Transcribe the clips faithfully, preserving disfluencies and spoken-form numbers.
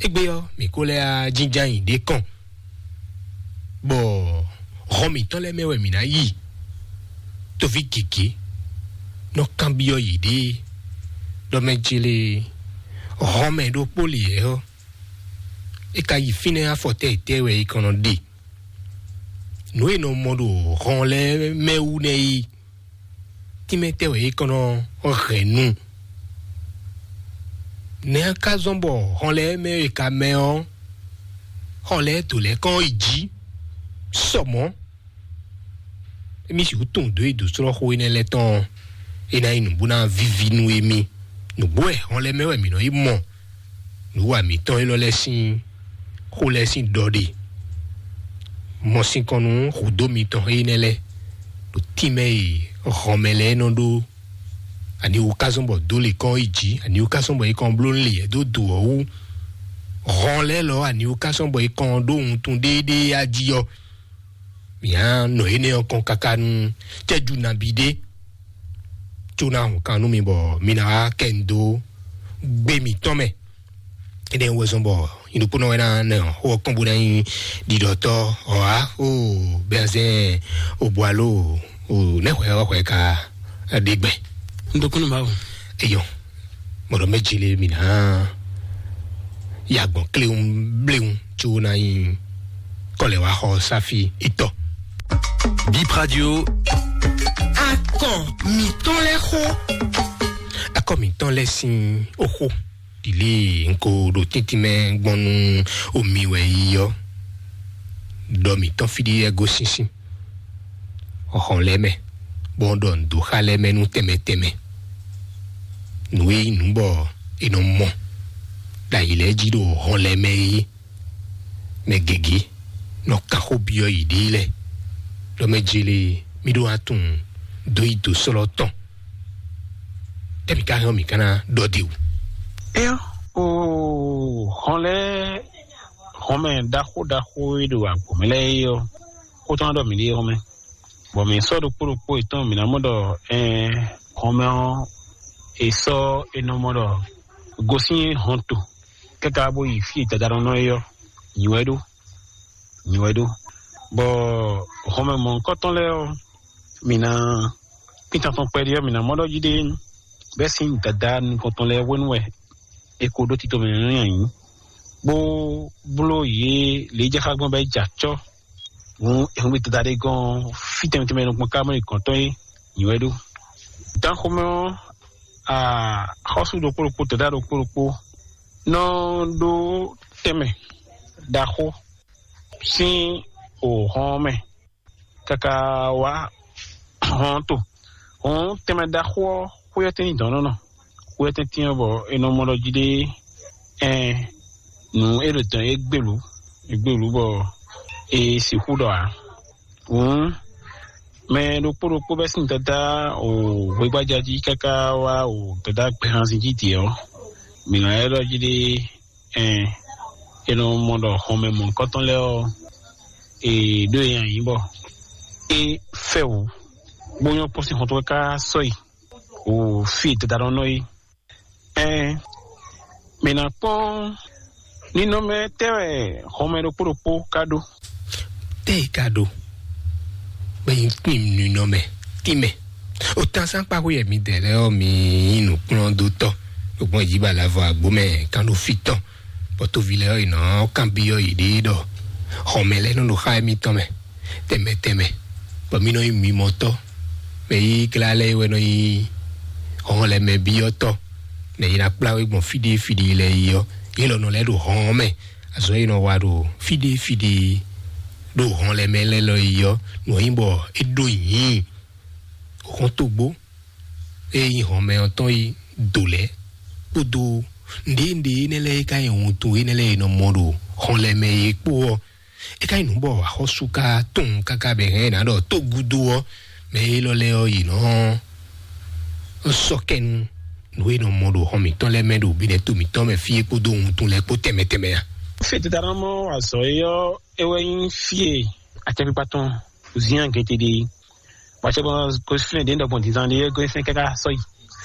Égbé ɔ́, mǐ ko lɛ́ á jínjɔ́n ayǐ ɖé kɔn, bɔ hɔn mǐtɔn lɛ́ɛ mɛ wɛ mǐ ná yi. Toví gěgé nɔ kanbyɔ́ yěɖée ɖɔ mɛ ce lé hɔn mɛ ɖokpó lě ɔ́, é ka yi fínɛ́ afɔ tɛ́ tɛ́ wɛ é kɔn nɔ ɖe. Nǔ e nɔ mɔ ɖo hɔn lɛ́ɛ mɛ wú nɛ́ é, tínmɛ tɛ́ wɛ é kɔn nɔ hɛn nu. Nɛ̌ ka zɔ́n bɔ hɔn lɛ́ɛ mɛ e ka mɛ ɔ́, hɔn lɛ́ɛ dǒ lɛ́ɛ kɔn yi jǐ sɔ mɔ̌? Émí sixú tunwun dǒ e dǒ slɔ́ xó énɛ́ lɛ́ɛ tɔn ɔ́, é ná nyí nǔ bó ná víví nú émí. Nǔgbó wɛ hɔn lɛ́ɛ mɛ wɛ mǐ nɔ yi mɔ nǔ wa mǐtɔn élɔ́ lɛ́ɛ sín xó lɛ́ɛ sín ɖɔ ɖe. Mɔ sinkɔn nú hǔdó mitɔn énɛ́ lɛ́ɛ ɖo tínmɛ e hɔnmɛ lɛ́ɛ nɔ ɖó. Ani wú ká zɔ́n bɔ dó lě kɔn yi jǐ, ani wú ká zɔ́n bɔ é kɔn bló lě dó do ɔ́ wú. Hɔn lɛ́ɛ lɔ, ani wú ká zɔ́n bɔ é kɔn ɖó wuntun ɖéeɖée á jí ɔ́, mǐ á nɔ énɛ́ ɔ́ kɔn káká nú cɛ́jú nabí ɖé, có ná hun kan nú mi bɔ mi ná wá kɛ nu dó gbé mǐtɔn mɛ. Énɛ́ wɛ zɔ́n bɔ nyidokpónɔ wɛ ná nɛ xó ɔ́ kɔn bó ná nyí ɖiɖɔtɔ́ ɔ́ á. O bɛnzɛn o bu alo o nɛ́ hwɛ ɔ́ hwɛ ka ɖe gbɛ. Un dó kúnnú Mawu. Eyɔ, mɔɖɔ mɛ jile mǐ ná ya gbɔn kléwún bléwún, có ná nyí kɔlɛ wá xɔ sáfi itɔ. Bip Radio. Akɔ mǐtɔn lɛ́ɛ xó. Akɔ mǐtɔn lɛ́ɛ sín oxó ɖi lě un ko ɖo tíntín mɛ gbɔn nú omi wɛ yi ɔ́, ɖɔ mǐtɔn fí ɖé wɛ gosín sín hɔn lɛ́ɛ mɛ, bɔ un ɖɔ nǔ dó xá lɛ́ɛ mɛ nú tɛnmɛ tɛnmɛ. Nǔ e nyí nǔ bɔ è nɔ mɔ ɖo ayǐ lɛ́ɛ jí ɖo hɔn lɛ́ɛ mɛ é, mɛ gěgé nɔ kan xó byɔ́ yěɖée lɛ́ɛ, ɖɔ mɛ jele mí ɖó atún dó yi dǒ slɔ́ tɔn. Tɛ́ mǐ ka hɛn ɔ́, mǐ ka ná ɖɔ ɖe wú. Éyɔ́, o hɔn lɛ́ɛ, hɔnmɛ ɖaxó ɖaxó e ɖo agbǒ mɛ lɛ́ɛ é ɔ́, xó tɔn ɖɔ mǐ ɖe hɔnmɛ, bɔ mǐ sɔ́ ɖokpó ɖokpó yětɔn, mǐ ná mɔ ɖɔ ɛɛ hɔnmɛ ɔ́, è sɔ́ è nɔ mɔ ɖɔ gosín hɔnto káká bó yi fí e dadá nɔ nɔ é ɔ́, nyǐ wɛ ɖó, nyǐ wɛ ɖó. Bɔ hɔnmɛ mɔ̌hunkɔtɔn lɛ́ɛ ɔ́, mǐ ná kpítan tɔn kpɛɖé ɔ́, mǐ ná mɔ ɖɔ jí ɖé bɛ́ sín dadá nukɔntɔn lɛ́ɛ hwenu wɛ è ko ɖó tito mɛ nú nyanyi, bó bló yě lě e jɛ xá gbɔn bɔ é jɛ acɔ́. Hǔn è hun gbe dada ɖé gɔ́n fí tɛnmɛ tɛnmɛ nukɔn ká mɔ yi gɔ̌n tɔn é nyǐ wɛ ɖó. Dán xomɛ ɔ́, axɔ́sú ɖokpó ɖokpó, dɔ̌dá ɖokpó ɖokpó nɔ ɖó tɛnmɛ ɖaxó sín hɔn ɔ́ mɛ káká wá hɔn ɔ́ to. Hɔn tɛnmɛ ɖaxó ɔ́, xwé ɔ́ tɛ́n nyí dɔ̌n nɔ nɔ. Xwé ɔ́ tɛ́n tyɛ́n bɔ è nɔ mɔ ɖɔ jí ɖé ɛn nǔ e ɖo dɔ̌n é gbelǔ, é gbelǔ bɔ è sixú ɖɔ ǎ. Hǔn mɛ ɖokpó ɖokpó bɛ́ sín dada o hwegbájá jí káká wá o dada gbɛhanzin jí dě ɔ́, mǐ nɔ ylɔ́ ɖɔ jí ɖé ɛn è nɔ mɔ ɖɔ hɔnmɛ mɔ̌hunkɔtɔn lɛ́ɛ ɔ́, è ɖó e nyi bɔ é fɛ wǔ, bó nyɔ́ kpɔ́n sín xɔ́ntɔn káká sɔ́ yi o fí e dada nɔ nɔ é. Ɛn mǐ ná kpɔ́n ninɔmɛ tɛ́ wɛ hɔnmɛ ɖokpó ɖokpó ka ɖó. Tɛ́ e ka ɖó bɔ nyí kpín ninɔmɛ tínmɛ. Otánsán kpákó yɛ mi dɛ lɛ́ɛ ɔ́, mi nyí nǔkplɔ́ndótɔ́, lɔgbɔn yǐ ba lavɔ àgbo mɛ kán ɖo fí tɔn, bɔ tóvi lɛ́ɛ ɔ́, yě nɔ kanbyɔ́ yěɖée ɖɔ xɔmɛ lɛ́ɛ nɔ ɖo xá émítɔn mɛ tɛnmɛ tɛnmɛ, bɔ mí nɔ nyí mimɔtɔ́, mɛ yí glá lɛ́ɛ wɛ nɔ nyí hɔn lɛ́ɛ mɛ byɔ́tɔ́, nɛ yě ná kplá we gbɔn fí ɖé fí ɖé lɛ́ɛ yi ɔ́, yě lɔ nɔ lɛ́ ɖo hɔn ɔ́ mɛ. Azɔ̌ e nɔ wa ɖo fí ɖé fí ɖé ɖo hɔn lɛ́ɛ mɛ lɛ́ɛ lɔ yi ɔ́, nǔ ɔ́ nyí bɔ é ɖó nyǐ hɔntogbó e nyí hɔnmɛ ɔ́ tɔn yi do lɛ́ɛ kpódó nǔɖé nǔɖé énɛ́ lɛ́ɛ e ka nyí wuntun énɛ́ lɛ́ɛ e nɔ mɔ ɖo hɔn lɛ́ɛ mɛ é kpó ɔ́, é ka nyí nǔ bɔ axɔ́sú ka tunwun káká bɔ è hɛn ɛ ná ɖɔ tó gúdo ɔ́, mɛ élɔ́ lɛ́ɛ ɔ́, yě nɔ sɔ́ kɛ nú nǔ e nɔ mɔ ɖo hɔn mǐtɔn lɛ́ɛ mɛ ɖo bǐnɛ́ to mǐtɔn mɛ fí é kpódó wuntun lɛ́ɛ kpó tɛnmɛ tɛnmɛ ǎ. Fí e Dadá mɔ azɔ̌ é ɔ́, é wɛ nyí fí e acɛkpikpa tɔn Zian gete ɖe é. Bɔ acɛkpikpa tɔn gosín fínɛ́ ɖě ɖɔgbɔn dǐndán ɖé é gosín fínɛ́ káká sɔ́ yi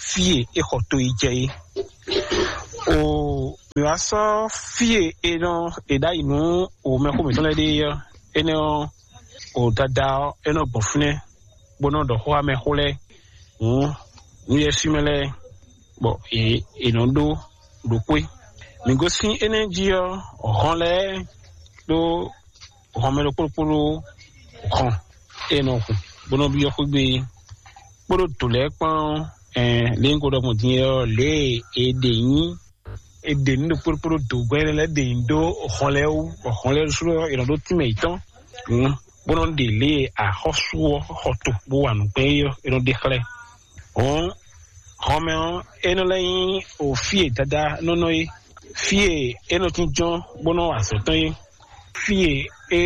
fí e é xɔ to yi jɛ é. O mi wá sɔ́ fí e è nɔ è ɖ'ayǐ nú o mɛxó mǐtɔn lɛ́ɛ ɖe ɔ́, énɛ́ ɔ́, o dada ɔ́, é nɔ gbɔn fínɛ́, bó nɔ ɖɔ xó amɛxó lɛ́ɛ hǔn nú yɛ́swí mɛ lɛ́ɛ, bɔ è è nɔ ɖó ɖo xwé. Mǐ gosín énɛ́ jí ɔ́, hɔn lɛ́ɛ ɖó hɔn mɛ ɖokpó ɖokpó ɖó hɔn e nɔ hun bó nɔ byɔ́ xwé gbe kpódó dǒ lɛ́ɛ kpán ɔ́, lě un ko ɖɔ gbɔn din é ɔ́, lě e è ɖe nyí è ɖe nǔ ɖokpó ɖokpó ɖó dǒgbɛ́ lɛ́ɛ ɖe nyí ɖó hɔn lɛ́ɛ wú, bɔ hɔn lɛ́ɛ ɖésú ɔ́, è nɔ ɖó tínmɛ yětɔn bó nɔ ɖe lě e axɔ́sú ɔ́ xɔ to bó wa nǔ gbɛn é ɔ́, è nɔ ɖe xlɛ́. Hɔn hɔnmɛ ɔ́, é nɔ lɛ́ nyí o fí e Dadá nɔ nɔ é, fí e é nɔ jínjɔ́n bó nɔ wa azɔ̌ tɔn é, fí e é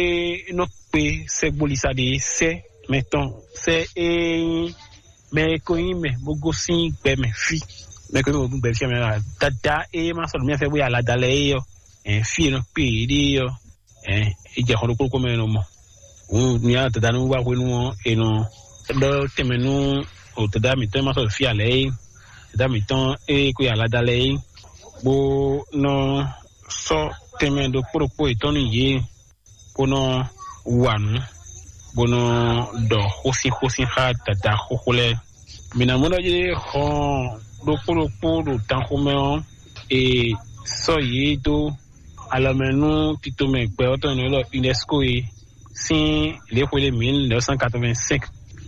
nɔ kpé sɛ́gbólisa ɖe sɛ́ mɛ tɔn sɛ́ é nyí mɛ e ko nyí mɛ bó gosín gbɛ mɛ fí, mɛ e ko nyí mɛ bó gosín gbɛ fí mɛ ɔ́, Dadá e ma sɔ́ nǔ mì fɛ bó yi alada lɛ́ɛ é ɔ́, fí e nɔ kpé yě ɖe é ɔ́, é jɛ xɔ ɖokpó ɖokpó mɛ e nɔ mɔ. Hǔn mi nya Dadá nú wá hwenu ɔ́, è nɔ ɖɔ tɛnmɛ nú o Dadá mǐtɔn e ma sɔ́ fí ǎ lɛ́ɛ é, Dadá mǐtɔn e ko yi alada lɛ́ɛ é, bó nɔ sɔ́ tɛnmɛ ɖokpó ɖokpó yětɔn nú yě, bó nɔ wa nǔ, bó nɔ ɖɔ xósínxósín xá Dadá xóxó lɛ́ɛ. Mǐ ná mɔ ɖɔ jí hɔn ɖokpó ɖokpó ɖo tanxomɛ ɔ́, è sɔ́ yě dó alɔmɛ nú titomɛ gbɛ ɔ́ tɔn e nɔ ylɔ́ UNESCO é sín lě xwe ɖé mil neuf cent quatre-vingt-cinq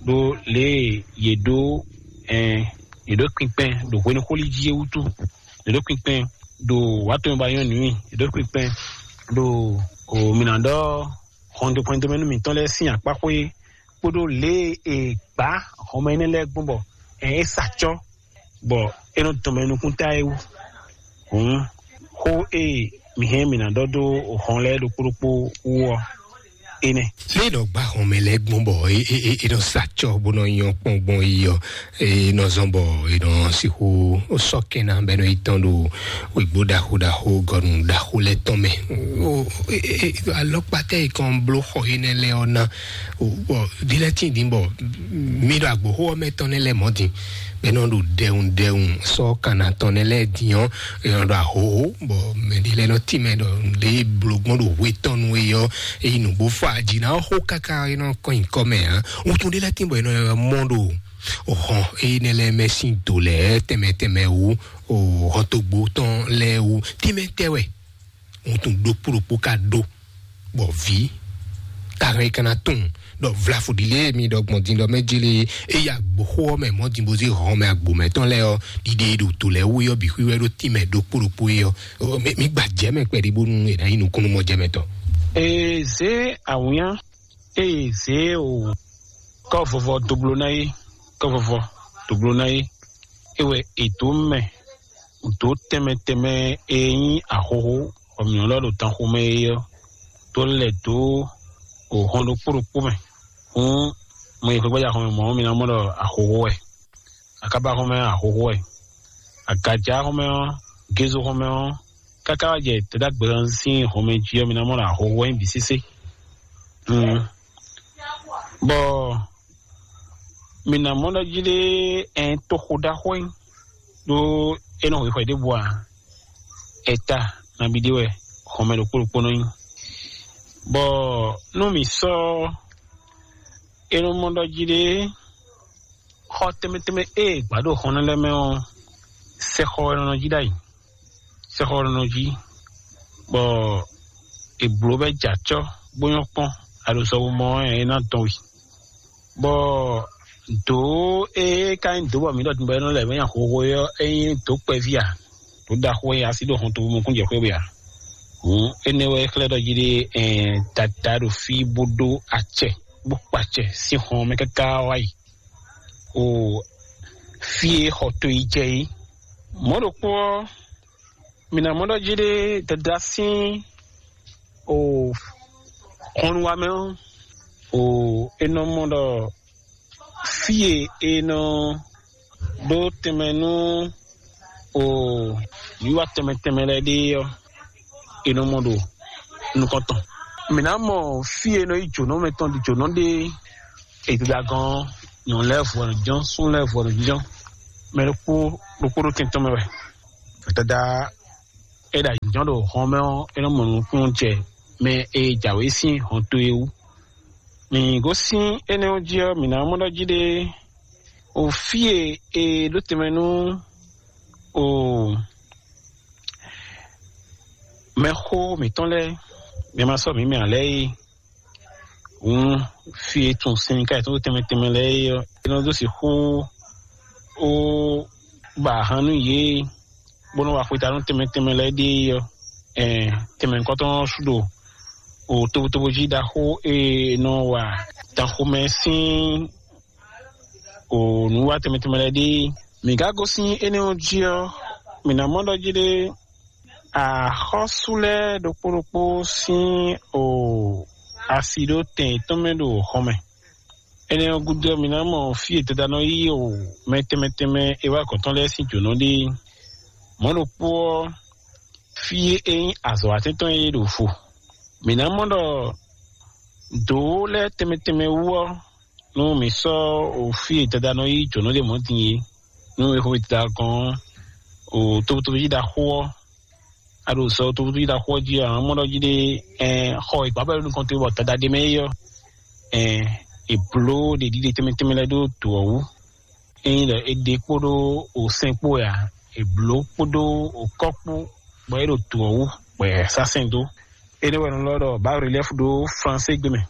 ɖó lě e yě ɖó ɛn yě ɖó kpinkpɛn ɖo hwenu xó lí jí é wútu. Yě ɖó kpinkpɛn ɖo wǎ tɔn ba nyɔ́ nǔ, yě ɖó kpinkpɛn ɖo o mǐ ná ɖɔ hɔn ɖo hwɛndo mɛ nú mǐtɔn lɛ́ɛ sín akpáxwé kpódó lě e è gbǎ hɔnmɛ énɛ́ lɛ́ɛ gbɔn bɔ ɛn é sa acɔ́ bɔ é nɔ dɔn mɛ nukúnta é wú. Hǔn xó e mǐ hɛn mǐ ná ɖɔ dó hɔn lɛ́ɛ ɖokpó ɖokpó wú ɔ́, énɛ́. Lě e nɔ gbá hɔnmɛ lɛ́ɛ gbɔn bɔ é é é é nɔ sa acɔ́ bó nɔ nyɔ́ kpɔ́n gbɔn é ɔ́, é nɔ zɔ́n bɔ é nɔ sixú sɔ́ kɛn ná bɔ é nɔ yi tɔ́n ɖo wěgbó ɖaxó ɖaxó gɔnu ɖaxó lɛ́ɛ tɔn mɛ. O e e e alɔkpatɛ yi kɔn bló xɔ énɛ́ lɛ́ɛ ɔ́ ná. O bɔ ɖi lɛ́ɛ tín din bɔ mi ɖo agboxó ɔ́ mɛ tɔn nɛ́ lɛ́ɛ mɔ̌ din bɔ é nɔ ɖo ɖɛwun ɖɛwun sɔ́ kanna tɔn nɛ́ lɛ́ɛ din ɔ́, é nɔ ɖo ahohó bɔ mɛ ɖi lɛ́ɛ nɔ tín mɛ ɖɔ lě e bló gbɔn ɖo hwe tɔn nu é ɔ́, é yi nǔgbó fɔ aji ná xó káká é nɔ kɔn nyǐkɔ mɛ ǎ. Wuntun ɖé lɛ́ɛ tín bɔ é nɔ mɔ ɖo hɔn énɛ́ lɛ́ɛ mɛ sín do lɛ́ɛ tɛnmɛ tɛnmɛ wú, o hɔntogbo tɔn lɛ́ɛ wú. Tínmɛ tɛ wɛ wuntun ɖokpó ɖokpó ka ɖó, bɔ vǐ ka hɛn ka ná tunwun ɖɔ vlafo ɖi lě mi ɖɔ gbɔn din ɖɔ mɛ jele é ya gboxó ɔ́ mɛ mɔ̌ din bó zé hɔn mɛ agbo mɛtɔn lɛ́ɛ ɔ́, ɖiɖe e ɖo to lɛ́ɛ wú ɔ́ bǐ xwíwɛ́ ɖó tínmɛ ɖokpó ɖokpó é ɔ́, mi gba jɛ mɛ kpɛɖé bónú è nǎ nyí nukúnnú mɔ jɛ mɛ tɔn. Ee zé awǐnnya, ee zé o kɔ́ vɔvɔ dó bló ná é, kɔ́ vɔvɔ dó bló ná é, é wɛ è dǒ mɛ dǒ tɛnmɛ tɛnmɛ e nyí ahohó bɔ mǐ nɔ lɔ ɖo tanxomɛ é ɔ́, dó lɛ dó o hɔn ɖokpó ɖokpó mɛ. Hǔn mɔ yi xwegbaja xɔmɛ mɔ̌ mi ná mɔ ɖɔ ahohó wɛ, akába xɔmɛ ahohó wɛ, agaja xɔmɛ ɔ́, gézo xɔmɛ ɔ́, káká wá jɛ tɛdágbɛ́ ɔ́ sín xɔmɛ jí ɔ́, mi ná mɔ ɖɔ ahohó wɛ nyí bǐ sésé. Bɔ mi nǎ mɔ ɖɔ jí ɖé ɛn toxo ɖaxó nyí ɖó é nɔ xwixwɛ ɖěbǔ ǎ. Ɛta nabí ɖé wɛ xɔmɛ ɖokpó ɖokpó nɔ nyí. Bɔ nú mǐ sɔ́ é nɔ mɔ ɖɔ jí ɖé xɔ tɛnmɛ tɛnmɛ e è gbǎ ɖo xɔnɔ lɛ́ɛ mɛ ɔ́, sɛxɔ wɛ nɔ nɔ jí ɖ'ayǐ. Sɛxɔ nɔ jí, bɔ è blǒ bɔ é jɛ acɔ́ bó nyɔ́ kpɔ́n, a ɖo sɔwu mɔ ɔ́, é ná dɔn we. Bɔ dǒ e ka nyí dǒ bɔ mǐ ɖɔ din bɔ é nɔ lɛ mɛ nyi ahohó é ɔ́, é nyí dǒ kpɛví a? Dǒ ɖaxó e asi ɖo hɔn tobu mɔkún jɛ xwé we a? Hǔn énɛ́ wɛ é xlɛ́ ɖɔ jí ɖé ɛn dada ɖo fí bó ɖó acɛ bó kpa acɛ sín hɔn mɛ káká wá yi o fí e xɔ to yi jɛ é. Mɔ̌ ɖokpó ɔ́, mi ná mɔ ɖɔ jí ɖé dada sín o xɔnnuwamɛ ɔ́, o è nɔ mɔ ɖɔ fí e è nɔ ɖó tɛnmɛ nú o nǔwiwa tɛnmɛ tɛnmɛ lɛ́ɛ ɖe ɔ́, è nɔ mɔ ɖo nukɔn tɔn. Mǐ ná mɔ fí e è nɔ yí jǒnɔ mɛ tɔn ɖi jǒnɔ ɖe e dada gɔ́n nyɔ̌nu lɛ́ɛ vɔ nɔ jɔ́n, súnnu lɛ́ɛ vɔ nɔ jɔ́n. Mɛ ɖokpó ɖokpó ɖo tɛn tɔn mɛ wɛ. Dada É ɖo ayǐjɔ́n ɖo hɔn mɛ ɔ́, é nɔ mɔ nukúnnú jɛ mɛ e jǎwe sín hɔn towe wú. Mǐ gosín énɛ́ ɔ́ jí ɔ́, mǐ ná mɔ ɖɔ jí ɖé o fí e è ɖó tɛnmɛ nú o mɛxó mǐtɔn lɛ́ɛ, mɛ ma sɔ́ mǐ mɛ ǎ lɛ́ɛ é. Hǔn fí e tun sinmika yětɔn ɖo tɛnmɛ tɛnmɛ lɛ́ɛ é ɔ́, é nɔ dó sixú ó ba ahan nú yě, bó nɔ́ wa xwetanu tɛnmɛ tɛnmɛ lɛ́ɛ ɖíe ɔ́, ɛn tɛnmɛ nukɔntɔn ɔ́ sú ɖo o tobotobo jí ɖaxó e nɔ wa danxomɛ sín o nǔwa tɛnmɛ tɛnmɛ lɛ́ɛ ɖíe. Mǐ ka gosín énɛ́ ɔ́ jí ɔ́, mǐ ná mɔ ɖɔ jí ɖé axɔ́sú lɛ́ɛ ɖokpó ɖokpó sín o asi ɖó tɛn yětɔn mɛ ɖo xɔ mɛ. Énɛ́ ɔ́ gúdo ɔ́, mǐ ná mɔ fí e Dada nɔ yí o mɛ tɛnmɛ tɛnmɛ e wá gɔ̌n tɔn lɛ́ɛ sín jǒnɔ ɖe. Mɔ̌ ɖokpó ɔ́, fí e é nyí azɔ̌watɛ́ntɔn e ɖo vo. Mǐ ná mɔ ɖɔ dǒ lɛ́ɛ tɛnmɛ tɛnmɛ wú ɔ́, nú mǐ sɔ́ o fí e Dada nɔ yí jǒnɔ ɖe mɔ̌ din é, nú è xo Dada gɔ́n ɔ́, o tobutóbú jí ɖaxó ɔ́, a ɖo sɔ tobutóbú jí ɖaxó ɔ́ jí ɔ́, a nǎ mɔ ɖɔ jí ɖé ɛn xɔ e gbǎbɛ́ nukɔn towe bɔ Dada ɖe mɛ é ɔ́, ɛn è blǒ ɖeɖíɖe tɛnmɛ tɛnmɛ lɛ́ɛ ɖó dǒ ɔ́ wú. Ényí ɖɔ è ɖe kpódó o sɛn kpó wɛ a, è blǒ kpódó o kɔ́ kpó bɔ é ɖo dǒ ɔ́ wú bɔ è sá sɛn dó. Énɛ́ wɛ un lɔ ɖɔ bǎ relɛ́fu ɖó Flansé gbe mɛ,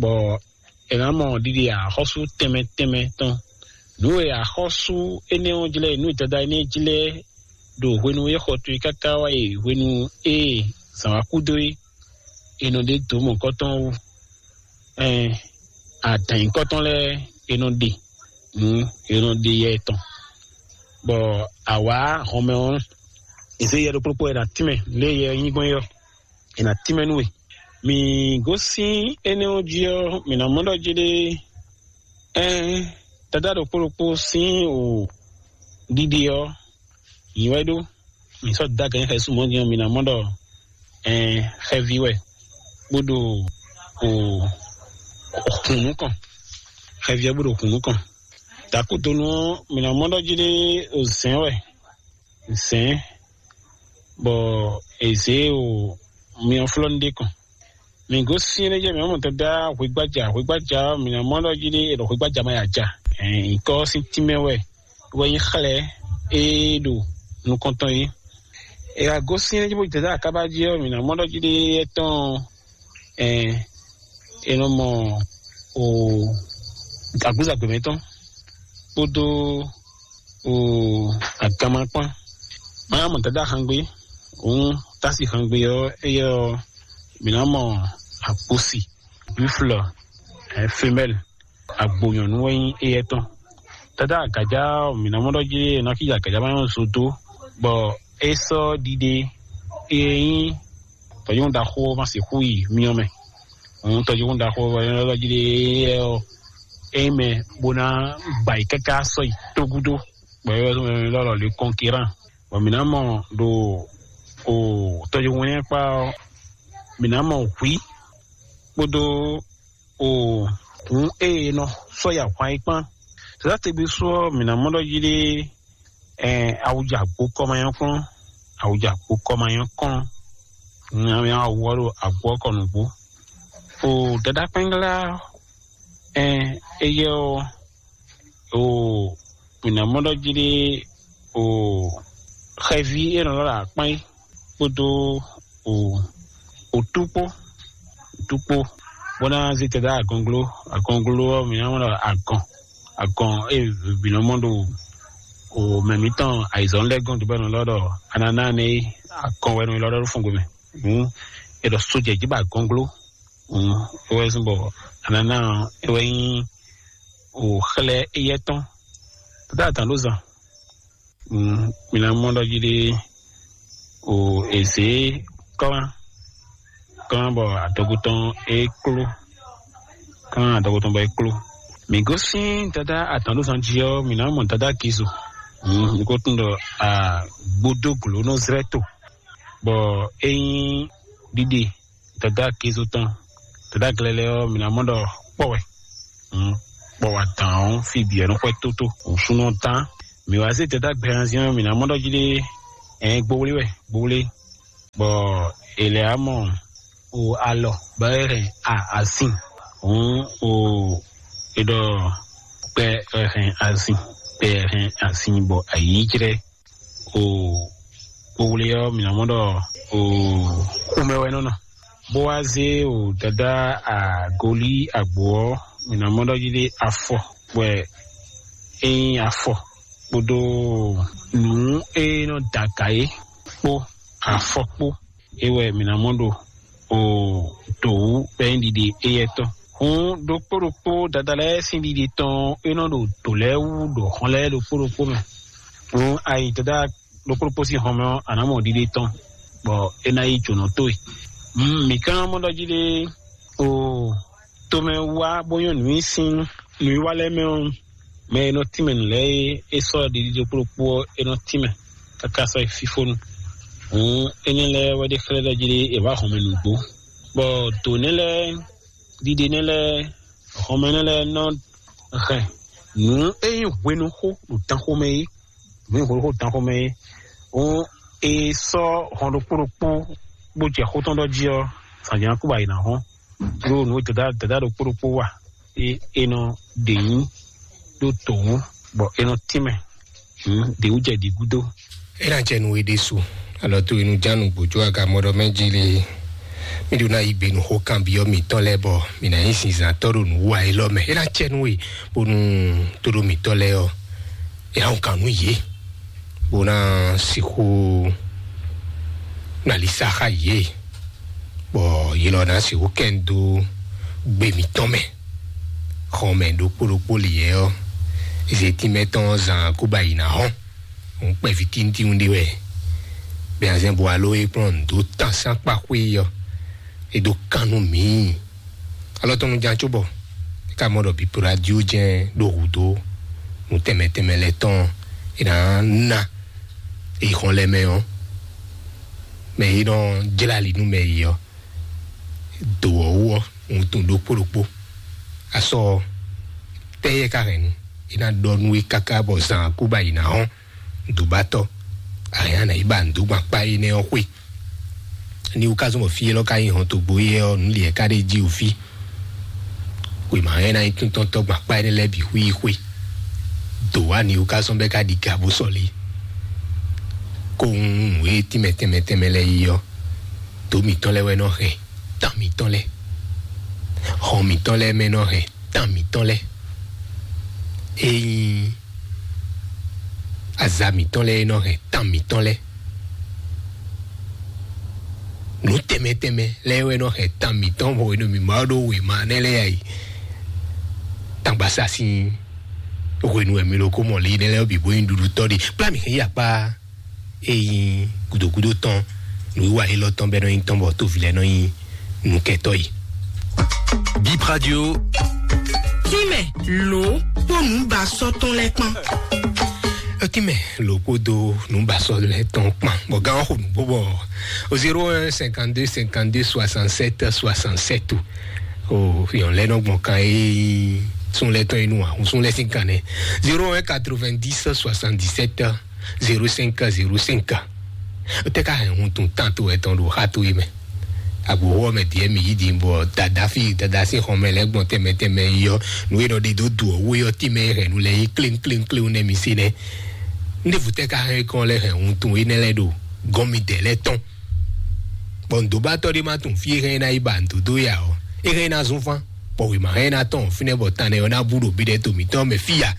bɔ è nǎ mɔ ɖiɖe axɔ́sú tɛnmɛ tɛnmɛ tɔn. Nǔ e axɔ́sú énɛ́ ɔ́ jlɛ́, nǔ e Dada énɛ́ jlɛ́ ɖo hwenu e xɔ towe káká wá yi hwenu e zǎn wá kú dó é, è nɔ ɖe dǒ mɔ̌kɔtɔn wú, ɛn adǎn nyǐkɔtɔn lɛ́ɛ è nɔ ɖe nǔ, è nɔ ɖe yɛ tɔn, bɔ awǎ hɔnmɛ ɔ́, è zě yɛ ɖokpó ɖokpó è nǎ tínmɛ lě e yɛ nyí gbɔn é ɔ́, è nǎ tínmɛ nú we. Mǐ gosín énɛ́ ɔ́ jí ɔ́, mǐ ná mɔ ɖɔ jí ɖé, ɛn Dada ɖokpó ɖokpó sín o ɖiɖe ɔ́, nyǐ wɛ ɖó. Mǐ sɔ́ dó agǎn xɛsú mɔ̌ din ɔ́, mǐ ná mɔ ɖɔ ɛn xɛví wɛ bó ɖo o hun nukɔn. Xɛví ɔ́ bó ɖo hun nukɔn. Dǎkúdonu ɔ́, mǐ ná mɔ ɖɔ jí ɖé o zɛ̌n wɛ, zɛ̌n bɔ è zě o myɔflɔ́nú ɖé kɔn. Mǐ gosín énɛ́ jɛ mǐ mɔ Dada hwegbája, hwegbája ɔ́, mǐ ná mɔ ɖɔ jí ɖé è ɖɔ hwegbája ma ya ja. Ɛn nyǐkɔ ɔ́ sín tínmɛ wɛ wɛ nyí xlɛ́ e ɖo nukɔntɔn é. È wá gosín énɛ́ jí bó jɛ Dada akábá jí ɔ́, mǐ ná mɔ ɖɔ jí ɖé étɔn ɛn è nɔ mɔ o agbúzagbe mɛtɔn kpódó o aganma kpán. Má mɔ Dada xangbé, òun tási xangbé ɔ́, éyɛ́ ɔ́, mǐ ná mɔ akposi, buffle, ɛ, femelle, agbo nyɔ̌nu wɛ nyí éyɛ́ tɔn. Dada agaja ɔ́, mǐ ná mɔ ɖɔ jí è nɔ kíja agaja ma nyɔ́ zo dó, bɔ é sɔ́ ɖiɖe e nyí tɔ̌yɔ́n ɖaxó ɔ́ ma sixú yi myɔ mɛ. Òun tɔ́yɔ́n ɖaxó ɔ́ wɛ nyɔ́ ɖɔ jí ɖe ɔ́, é nyí mɛ bó ná gba yi káká sɔ́ yi tógúdó, bɔ é wɛ lɔ́lɔ̌ le kɔnkirán. Bɔ mǐ ná mɔ ɖo o tɔ́yɔ́n wɛnyɛ́kpá ɔ́, mǐ ná mɔ hwǐ kpódó o nǔ e è nɔ sɔ́ yi ahwan é kpán. Sɛ̌dá tegbe sú ɔ́, mǐ ná mɔ ɖɔ jí ɖé ɛn awuja agbo kɔ ma nyɔ́ kplɔ́n, awuja agbo kɔ ma nyɔ́ kplɔ́n, nyawe awu ɔ́ ɖo agbo ɔ́ kɔ nǔgbó. O dada kpɛ́nglá ɛn éyɛ́ ɔ́, o mǐ ná mɔ ɖɔ jí ɖé o xɛví e nɔ lɔ ɖo akpán é kpódó o otú kpó, otú kpó, bó ná zé tɛdá agɔnglo, agɔnglo ɔ́ mǐ ná mɔ ɖɔ agɔn, agɔn e vǐ nɔ mɔ ɖo o mɛ mǐtɔn ayizɔn lɛ́ɛ gɔn dó bɔ nɔ lɔ ɖɔ ananá nɛ é, agɔn wɛ nɔ lɔ ɖɔ ɖo fúngo mɛ. Hǔn è ɖɔ sojɛ jí ba agɔnglo. Hǔn é wɛ zɔn bɔ ananá ɔ́ é wɛ nyí o xlɛ́ éyɛ́ tɔn. Tɛdá atǎn ɖó zan. Mm, mi ná mɔ ɖɔ jí ɖé o èzě klán klán bɔ adɔgo tɔn é kló, klán adɔgo tɔn bɔ é kló. Mi gosín dada atɔn ɖó zan jí ɔ́, mi ná mɔ dada Gizo. Mm, mi ko tún ɖɔ agbódó glǒ nɔ zlɛ́ to, bɔ é nyí ɖiɖe dada Gizo tɔn. Dada glɛlɛ ɔ́, mi ná mɔ ɖɔ kpɔ wɛ. Mm, kpɔ wɛ adǎn ɔ́, fí bǐ ɔ́ nɔ xwɛ tótó. Nǔsúnnú ɔ́ tán. Mi wá zé dada gbɛhanzin ɔ́, mi ná mɔ ɖɔ jí ɖé ɛn gbowlé wɛ, gbowlé. Bɔ è lɛ́ wá mɔ o alɔ bɔ é hɛn a asin. Hǔn o è ɖɔ kpɛ hɛn asin, kpɛ hɛn asin bɔ ayǐjlɛ o kpowlé ɔ́, mǐ ná mɔ ɖɔ o xomɛ wɛ nɔ nɔ. Bó wá zé o dada agolí agbo ɔ́, mǐ ná mɔ ɖɔ jí ɖé afɔ wɛ é nyí afɔ kpódó nǔ e nɔ da aga é kpó afɔ kpó é wɛ mǐ ná mɔ ɖo o dǒ wú bɔ é nyí ɖiɖe éyɛ́ tɔn. Hǔn ɖokpó ɖokpó dada lɛ́ɛ sín ɖiɖe tɔn é nɔ ɖo dǒ lɛ́ɛ wú ɖo hɔn lɛ́ɛ ɖokpó ɖokpó mɛ. Hǔn ayi dada ɖokpó ɖokpó sín hɔn mɛ ɔ́, a nǎ mɔ ɖiɖe tɔn bɔ é ná yi jǒnɔ towe. Mǐ ka mɔ ɖɔ jí ɖé o tomɛ wá bó nyɔ́ nǔ nyi sín nǔwiwa lɛ́ɛ mɛ ɔ́, mɛ e nɔ tínmɛ nǔ lɛ́ɛ é, é sɔ́ ɖiɖi ɖokpó ɖokpó ɔ́, é nɔ tínmɛ káká sɔ́ yi fífónu. Hǔn énɛ́ lɛ́ɛ wɛ ɖe xlɛ́ ɖɔ jí ɖé è wǎ hɔnmɛ nǔgbó, bɔ dǒ nɛ́ lɛ́ɛ, ɖiɖe nɛ́ lɛ́ɛ, hɔnmɛ nɛ́ lɛ́ɛ nɔ hɛn nǔ e nyí hwenuxó ɖo danxomɛ é, nǔ e nyí hwenuxó ɖo danxomɛ é. Hǔn è sɔ́ hɔn ɖokpó ɖokpó bó jɛ xó tɔn ɖɔ jí ɔ́, zǎnjǎn kú bɔ ayǐ ná hɔn. Ɖó nǔ e dada dada ɖokpó ɖokpó wa é, é nɔ ɖe nyí ɖó tǒhún bɔ é nɔ tínmɛ. Hǔn ɖě wú jɛ ɖǐ gúdo. É ná jɛ nú we ɖésú, alɔ tó inú jánu gbòjó agamɔɖɔ mɛ jí lé. Mí ɖó ná yí gbe nú xó kanbyɔ́ mǐtɔn lɛ́ɛ bɔ mǐ ná nyí zinzǎntɔ́ ɖo nǔ wa élɔ́ mɛ. É ná jɛ nú we bónú tóɖó mǐtɔn lɛ́ɛ ɔ́, é ná wun kan nú yě, bó ná sixú nalisa xá yě, bɔ yě lɔ ná sixú kɛn dó gbe mǐtɔn mɛ. Xɔmɛ ɖokpó ɖokpó lǐyɛ ɔ́, zětínmɛ tɔn zan kó ba yi ná hɔn. Òun kpɛví tíntín ɖé wɛ. Bɛnazɛn bo alo e kplɔ́n nǔ dó tán sín akpa xwé ɔ́, é dó kan nú mǐ. Alɔ tɔn nu ján cóbɔ é ka mɔ ɖɔ bǐ radio jɛ́n ɖo hǔdó nǔ tɛnmɛ tɛnmɛ lɛ́ɛ tɔn é ná ná é yi xɔn lɛ́ɛ mɛ ɔ́, mɛ e nɔ jlá ali nú mɛ yi ɔ́, dǒ ɔ́ wú ɔ́, wuntun ɖokpó ɖokpó. Asɔ tɛ́ yɛ ka hɛn nu, é ná ɖɔ nú we káká bɔ zan kú ba yi ná hɔn. Nǔdúbatɔ́, ayǎ nǎ yi ba nǔdúgban kpá énɛ́ ɔ́ xwé. Ní wú ka zɔ́n bɔ fí élɔ́ ka nyí hɔntogbo éyɛ́ ɔ́, nǔ lǐɛ ka ɖé jí wú fí. Wěma ɛ ná nyí tíntɔ́ntɔ́ gban kpá énɛ́ lɛ́ɛ bǐ xwí yi xwé. Dǒ wá ní wú ka zɔ́n bɛ́ ka ɖi ga bó sɔ́ lé. Kó húnhún nǔ e tínmɛ tɛnmɛ tɛnmɛ lɛ́ɛ yi ɔ́, dǒ mǐtɔn lɛ́ɛ wɛ nɔ hɛn tán mǐtɔn lɛ́ɛ, hɔn mǐtɔn lɛ́ɛ mɛ nɔ hɛn tán mǐtɔn lɛ́ɛ. Ényí aza mǐtɔn lɛ́ɛ nɔ hɛn tán mǐtɔn lɛ́ɛ, nǔ tɛnmɛ tɛnmɛ lɛ́ɛ wɛ nɔ hɛn tán mǐtɔn bɔ hwenu mǐ ma ɖó wěma nɛ́ lɛ́ɛ yi. Tangbasásin hwenu wɛ mi ɖo kó mɔ lě nɛ́ lɛ́ɛ bǐ bó nyí ɖuɖutɔ́ ɖe. Kplá mǐ hɛn yi akpá e nyí gǔdógúdó tɔn nǔwiwa élɔ́ tɔn bɛ́ nɔ nyí tɔn bɔ tóvi lɛ́ɛ nɔ nyí nǔkɛtɔ́ yi. Bip Radio. Tínmɛ lǒ kpó nǔbasɔ́ tɔn lɛ́ɛ kpán. Tínmɛ lǒ kpódó nǔbasɔ́ lɛ́ɛ tɔn kpán. Bɔ gán ɔ́ xo nǔgbó bɔ o zéro un cinquante-deux cinquante-deux soixante-sept soixante-sept o. O yɔn lɛ́ɛ nɔ gbɔn kan e sún lɛ́ɛ tɔn yi nú ahun sún lɛ́ɛ sín kan nɛ. Zéro un quatre-vingt-dix soixante-dix-sept zéro cinq zéro cinq. Tɛ ka hɛn hun tun tán to etɔn ɖo xa to yi mɛ. Agboxo ɔ́ mɛ diɛ mi yi din bɔ dada fi dada sín xɔmɛ lɛ́ɛ gbɔn tɛnmɛ tɛnmɛ yi ɔ́, nǔ e nɔ ɖe dó du ɔ́ wé ɔ́ tínmɛ hɛn nu lɛ yi kléŋ kléŋ kléŋ nɛ mi se nɛ. Ndévu tɛ ka hɛn kɔn lɛ hɛn hun tun énɛ́ lɛ́ɛ ɖo gɔn mi dɛ lɛ́ɛ tɔn. Bɔ nǔdóbatɔ́ ɖé ma tunwun fí e hɛn ná yi ba nǔdódó ya ɔ́, é hɛn ná zún fán, bɔ wěma hɛn ná tɔn fínɛ́ bɔ tan nɛ ɔ́ ná bú ɖo bíɖɛ to mǐtɔn mɛ fí ya.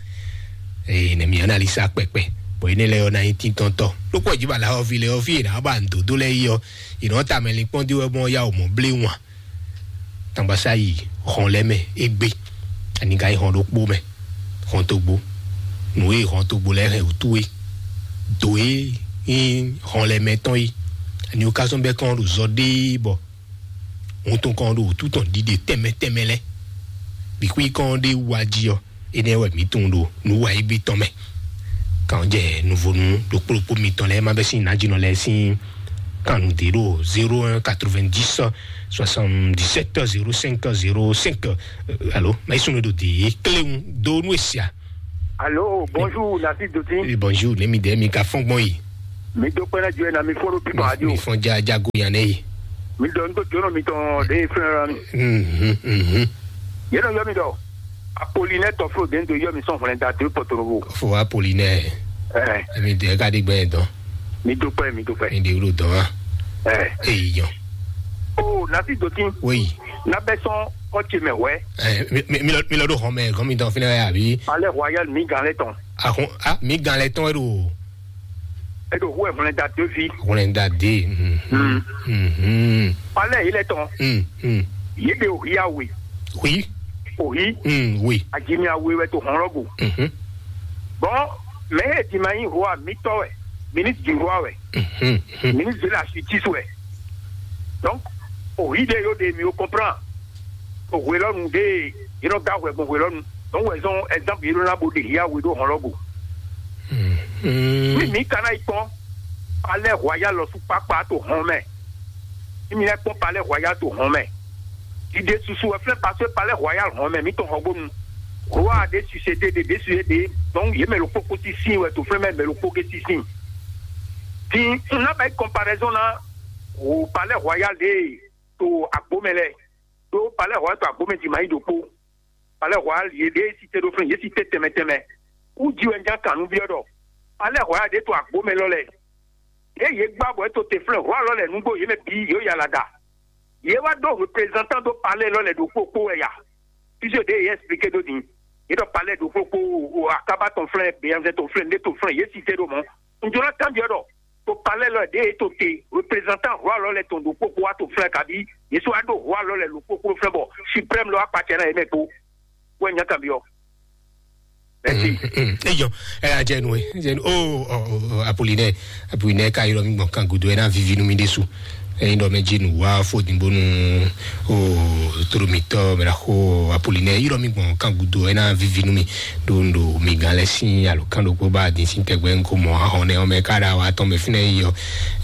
Ee, nɛ mǐ analisa kpɛkpɛ, bɔ énɛ́ lɛ́ɛ ɔ́ ná nyí tíntɔ́ntɔ́. Lókpɔ jǐ ba la ɔ́ vi lɛ ɔ́ fí e nǎ ba nǔdódó lɛ́ɛ yi ɔ́, è nǎ tamɛ linkpɔ́n dó wɛ mɔ yá wǒ mɔ blé wan. Tangbasáyi hɔn lɛ́ɛ mɛ é gbé, ani ka yi hɔn ɖokpó mɛ, hɔn togbo, nǔ e hɔn togbo lɛ́ɛ hɛn wǔtu é, dǒ e nyí hɔn lɛ́ɛ mɛ tɔn é, ani wú ka zɔ́n bɛ́ kɔn ɖo zɔ ɖéé bɔ wuntun kɔn ɖo wǔtu tɔn ɖiɖe tɛnmɛ tɛnmɛ lɛ́ɛ, bǐ xwí kɔn ɖé wá jí ɔ́, énɛ́ wɛ mǐ tunwun ɖo nǔ wa égbé tɔn mɛ. Kan jɛ nuvonu ɖokpó ɖokpó mitɔn lɛ́ɛ ma bɛ sín nǎjínɔ lɛ́ɛ sín kan nǔ ɖé ɖo zéro un quatre-vingt-dix soixante-dix-sept zéro cinq zéro cinq. Alo, ma yi sunu ɖo de kléwu do nú esia. Alo, bonjour, Nafi Doti. Bonjour, ne mi de mi ka fɔn gbɔn yi. Mi dó kpɛ́ ná jɔ ɛ na mi fɔ́n ɖo pípa adi o. Mi fɔn ja jago yan nɛ yi. Mi dɔ nu tó jónɔ mitɔn ɖe flɛ́n ra mi. Mhm, mhm. Yé nɔ yɔ mi dɔ. Apolinɛ tɔflo den do yɔ mi sɔn hwlɛn da do pɔtorobo. Fo Apolinɛ. Ɛ, Emi de ka di gbɛ dɔn. Mi dó kpɛ́, mi dó kpɛ́. Mi de wúlò dɔn wa. Ɛ. Eyi yɔ. O nasi dotin. Woyi. Nabɛ sɔn kɔtse mɛ wɛ. Ɛ, mi, mi, mi lɔ, mi lɔ ɖo xɔmɛ, gɔn mi dɔn finɛ ya bi. Palais Royal mi gan lɛ tɔn. Ahun, a, mi gan lɛ tɔn e ɖo. E ɖo hu ɛ hwlɛn da do fi. Hwlɛn da de. Mhm. Mhm. Palais yi lɛ tɔn. Mhm. Yi de o ya we. Hui. O yi. Mhm, oui. Ajimi awe wɛ to hɔn lɔ go. Mhm. Bon, mɛ e di ma nyi roi mitɔ wɛ, ministre du roi wɛ, Mhm. Mhm. Ministre de la justice wɛ. Donc, oyi ɖe yo ɖe mi o comprend. O hwelɔnu ɖe, yi nɔ da hwɛ gbɔn hwelɔnu. Donc, wɛ zɔn exemple yi nɔ na bo ɖe hia we ɖo hɔn lɔ go. Mhm. Mi mi ka na yi kpɔn, palais royal lɔ su kpakpa to hɔn mɛ. Mi mi na kpɔn palais royal to hɔn mɛ. Dide susu wɛ flɛ parce que palais royal hɔn mɛ mi tɔn hɔgbonu. Roi de su se de de de su ye de. Donc ye mɛ lo kpokpo si sin wɛ to flɛ mɛ mɛ lo kpo ke si sin. Ti n na bɛ comparaison na o palais royal de to agbo mɛ lɛ. To palais royal to agbo mɛ di ma yi do kpo. Palais royal ye de si te do flɛ ye si te tɛmɛ tɛmɛ. U di wɛ n ja kan nu biɔ dɔ. Palais royal de to agbo mɛ lɔ lɛ. Ye ye gba bɔ e to te flɛ roi lɔ lɛ nugbo ye mɛ bi yo yala da. Ye wá ɖó représentant ɖó palais lɔ lɛ ɖo kpokpo wɛ ya. Puisque ɖe ye expliqué ɖó din. Ye ɖɔ palais ɖo kpokpo o akaba tɔn flɛ beyanzɛ tɔn flɛ nde tɔn flɛ ye cité ɖo mɔ. N jɔ na kanbiɔ ɖɔ to palais lɔ ɖe ye to te représentant roi lɔ lɛ tɔn ɖo kpokpo wa to flɛ kabi ye so wa ɖo roi lɔ lɛ ɖo kpokpo flɛ bɔ suprême lɔ akpatsɛ na ye mɛ kpo. Wɛ nya kanbiɔ. Merci. Eyɔ, ɛ ajɛnu ɛ ajɛnu o o o Apollinaire. Apollinaire ka yɔrɔ mi gbɔn kan gudo ɛ na vivi nu mi ɖesu. Ɛyin ɖɔ mɛ dzi nu wa fo din bonu o toro mitɔ mɛ la xo Apollinaire yɔrɔ mi gbɔn kan gudo ɛ na vivi nu mi. Ɖo ɖo mi gan lɛ sin alo kan ɖokpo ba din sin tɛgbɛ ŋko mɔ ahɔn nɛ ɔmɛ ka ɖa wa tɔn mɛ finɛ yi yɔ.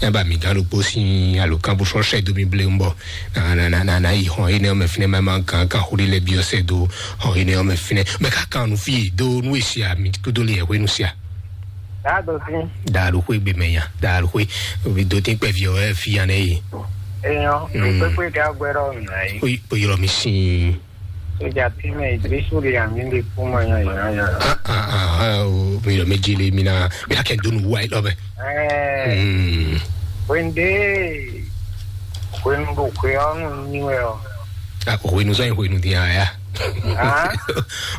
Ɛ ba mi gan ɖokpo sin alo kan bo sɔ sɛ do mi ble ŋbɔ. Na na na na na yi xɔ yi nɛ ɔmɛ finɛ ma ma kan kan xo ɖi lɛ biɔ sɛ do xɔ yi nɛ ɔmɛ finɛ mɛ ka kan nu fi do nu esi a mi kudo li ɛhwe nu sia. Daa do fi. Daa do xwe gbe mɛ ya daa do xwe obi do tin kpɛ fi ɔ ɛ fi ya nɛ yi. Eyɔn, mm, kpekpe ka gbɛ ɖɔ nà yi. O yi o yɔrɔ mi sin. Sójà tí mɛ ìdírísù lè àmì lè kú mọ yan yan yan. Ah ah ah ah o mi yɔrɔ mi jele mi na mi na kɛ donu wa yi lɔ bɛ. Ɛɛ. Mm. Wende hwenu ɖo hwe ɔ́ nu nyi wɛ ɔ. Ah, hwenu sɔ yin hwenu din aya. Ah?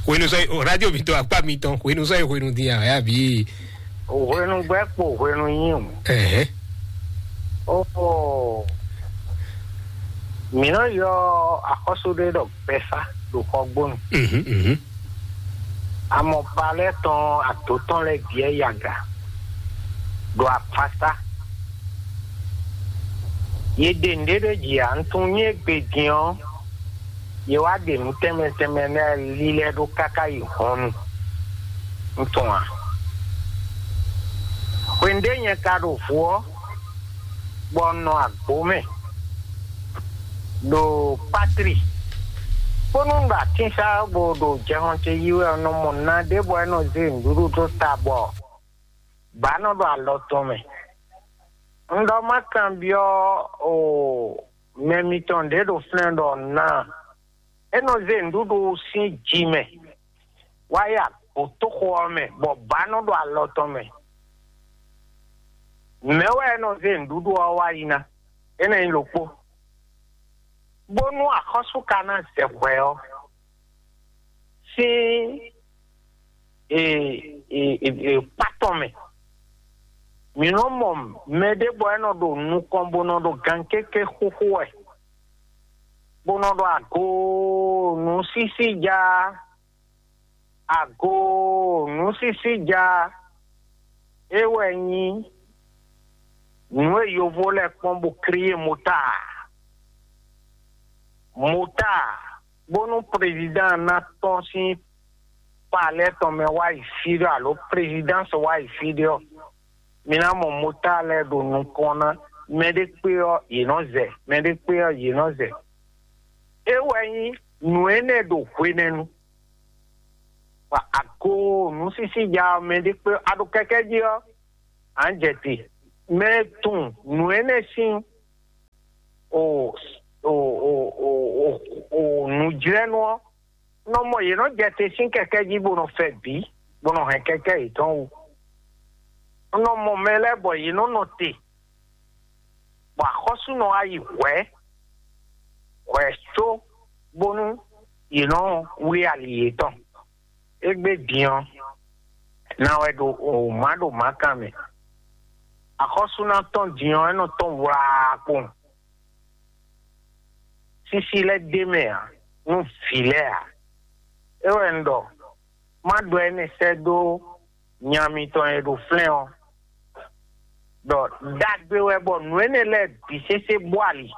Hwenu sɔ yin radio mi tɔn akpa mi tɔn hwenu sɔ yin hwenu din aya bi. Hwenu gbɛ kpo hwenu nyi o. Ɛhɛ. Ooo. Mi nɔ yɔ axɔ́sú ɖé ɖɔ gbɛsá ɖo xɔgbónu. Mhm, mhm. Amɔ palɛ tɔn ato tɔn lɛ biɛ yaga ɖo apasa. Ye ɖe nɖe ɖe dzi a, ntun nyɛ gbe din ɔ, ye wá ɖe nǔ tɛnmɛ tɛnmɛ lɛ́ɛ lílɛ́ ɖó káká yi hɔnnu. Ntun a? Hwenu ɖé nyɛ ka ɖo vo ɔ, bɔ un nɔ agbo mɛ ɖo patri, bónú un ɖo atínsa bó ɖo jɛhɔn ce yí wɛ un nɔ mɔ na ɖé bɔ é nɔ zé nǔɖuɖu dó ta bɔ bǎ nɔ ɖo alɔ tɔn mɛ. Un ɖɔ má kanbyɔ́ o mɛ mitɔn ɖě ɖo flɛ́n ɖɔ ná é nɔ zé nǔɖuɖu sín ji mɛ wá yi agbǒtóxo ɔ́ mɛ, bɔ bǎ nɔ ɖo alɔ tɔn mɛ. Mɛ̌ wɛ é nɔ zé nǔɖuɖu ɔ́ wá yi ná? Énɛ́ nyí ɖokpó. Bónú axɔ́sú ka ná zɛ hwɛ ɔ́, sín e, e, e, e, kpá tɔn mɛ. Mǐ nɔ mɔ mɛ ɖé bɔ é nɔ ɖo nukɔn bó nɔ ɖo gankéké xúxú wɛ, bó nɔ ɖo ago nǔsísí ja, ago nǔsísí ja, é wɛ nyí nǔ e yovó lɛ́ɛ kpɔ́n bó klíé mota. Mota, bónú prezidán ná tɔ́n sín palɛ tɔn mɛ wá yi fí ɖɔ alo prezidánsi wá yi fí ɖɔ, mi ná mɔ mota lɛ́ɛ ɖo nukɔn ná, mɛ ɖé kpé ɔ́, yě nɔ zɛ, mɛ ɖé kpé ɔ́, yě nɔ zɛ. É wɛ nyí nǔ énɛ́ ɖo hwenɛ́nu. Bɔ ago nǔsísí ja ɔ́, mɛ ɖé kpé ɔ́, a ɖo kɛ́kɛ́ jí ɔ́, à ń jɛ te. mɛ e tunwun nǔ énɛ́ sín o o o o o o nǔjlɛ́nú ɔ́, nɔ mɔ yě nɔ jɛ te sín kɛkɛ́ jí bó nɔ fɛ bǐ, bó nɔ hɛn kɛkɛ́ yětɔn wú. Un nɔ mɔ mɛ lɛ́ɛ bɔ yě nɔ nɔ te, bɔ axɔ́sú nɔ wá yi hwɛ̌ hwɛ̌ có bónú yě nɔ wlí ali yětɔn. Égbé din ɔ́, ná wɛ ɖo o má ɖo mǎkan mɛ. Axɔ́sú ná tɔn din ɔ́, é nɔ tɔn wlaa kpowun. Sísí lɛ́ɛ ɖ'é mɛ ǎ, nú vǐ lɛ́ɛ ǎ. É wɛ un ɖɔ, má ɖɔ énɛ́ sɛ́ dó nya mitɔn e ɖo flɛ́n ɔ́, ɖɔ ɖagbe wɛ bɔ nǔ énɛ́ lɛ́ɛ bǐ sésé bó ali.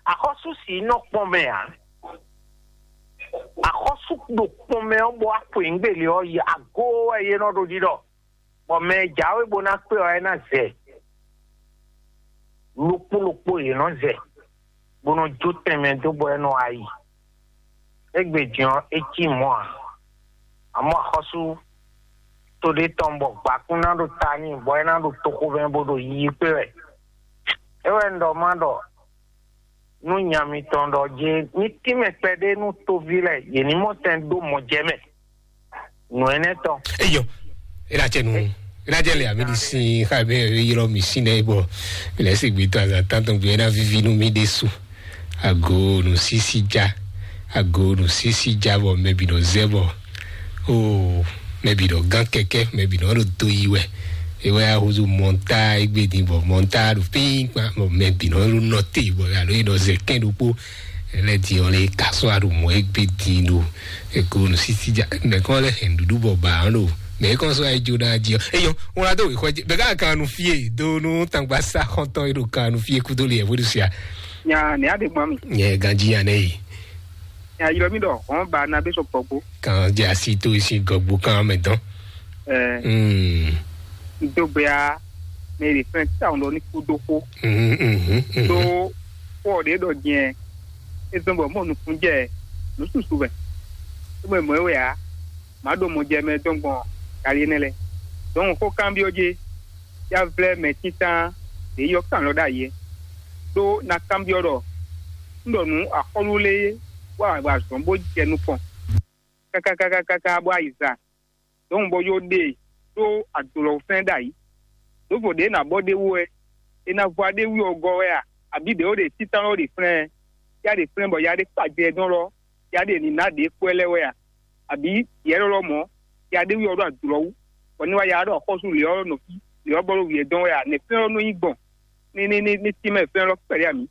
Axɔ́sú sǐ nɔ kpɔn mɛ ǎ. Axɔ́sú ɖo kpɔn mɛ ɔ́, bɔ wá xweyǐgbe lě ɔ́ yi agó wɛ yě nɔ ɖo ɖiɖɔ, bɔ mɛ e jǎwe bó ná kpé ɔ́, é ná zɛ. Ɖokpó ɖokpó yě nɔ zɛ, bó nɔ jó tɛnmɛ dó bɔ é nɔ wá yi. Égbé din ɔ́, é cí mɔ̌ ǎ. Amɔ̌ axɔ́sú to ɖé tɔn bɔ gbǎkún ná ɖo ta n'i, bɔ é ná ɖo toxomɛ bó ɖo yiyi kpé wɛ. É wɛ un ɖɔ má ɖɔ nú nya mitɔn ɖɔ jé ní tínmɛ kpɛɖé nú toví lɛ́ɛ, yě ní mɔ tɛn dó mɔ jɛ mɛ. Nǔ énɛ́ tɔn. Eyɔ, ena cɛ nu, ena cɛ le ami di sin xa be yɔrɔ mi sin nɛ bɔ mi lɛ se gbe tɔn azan tantɔn gbe ena vivi nu mi de su. Ago nu sisi ja, ago nu sisi ja bɔ mɛ bi nɔ zɛ bɔ o mɛ bi nɔ gán kɛkɛ, mɛ bi nɔ ɖo do yi wɛ. Ewɛ ahozo mɔnta egbe din bɔ mɔnta ɖo pin kpa bɔ mɛ bi nɔ ɖo nɔte bɔ alo yi nɔ zɛ kɛn ɖokpo. Ele di ɔn le kasɔ aɖo mɔ egbe din ɖo eko nu sisi ja mɛ kɔ lɛ hɛn ɖuɖu bɔ ba ɔn ɖo mɛ kɔ sɔ ayi jo na di ɔ eyɔ ŋlɔ do wixɔ dzi bɛ ka kan nu fie do nu tangba sa xɔntɔn yi ɖo kan nu fie kudo le ɛfo ɖusia. Nya ne a de gbɔn mi. Nyɛ ganji ya ne yi. Nya yɔ mi ɖɔ hɔn ba na be sɔ gbɔgbo. Kan dze asi to esi gɔgbo kan mɛ dɔn. Ɛɛ. Mm. N do gbé a mɛ ɖe fɛn tawun ɖɔ ní kú dó xó. Mhm, mhm, mhm. Ɖó xó ɔ́ ɖě ɖɔ jɛn é zɔ́n bɔ mɔ nukúnjɛ nǔ susu wɛ. É mɔ mɔ̌ wɛ ǎ, má ɖo mɔ jɛ mɛ dɔn gbɔn yali énɛ́ lɛ́ɛ. Dɔn xó kanbyɔ́ jé, yá vlɛ́ mɛ títán ɖě yɔ kan lɔ ɖ'ayǐ é. Ɖó ná kanbyɔ́ ɖɔ un ɖɔ nǔ axɔ́lú lé wá wa zɔ̌n bó jɛ nukɔn káká káká káká bó ayi za. Dɔn bɔ yó ɖe ɖó adolɔfɛn ɖ'ayǐ. Ɖǒvo ɖě ná bɔ ɖ'é wú wɛ, é ná vɔ aɖéwú ɔ́ gɔ́ wɛ a? Abǐ ɖě ó ɖe títán ɔ́ ɖe flɛ́n ɛ? Yá ɖe flɛ́n bɔ yá ɖe kpa jɛ dɔn lɔ, yá ɖe ní ná ɖě kpɔ́ ɛ lɛ́ɛ wɛ a? Abǐ yɛ lɔlɔ mɔ̌, yá ɖéwú ɔ́ ɖo adolɔ wú, bɔ ní wá yá ɖɔ xɔ́sú lě ɔ́ nɔ fí, lě ɔ́ bɔ ɖo wǔyɛ dɔn wɛ a? Nɛ̌ flɛ́n ɔ́ nɔ nyí gbɔn? Ní ní ní ní tínmɛ flɛ́n lɔ kpɛɖé a mǐ?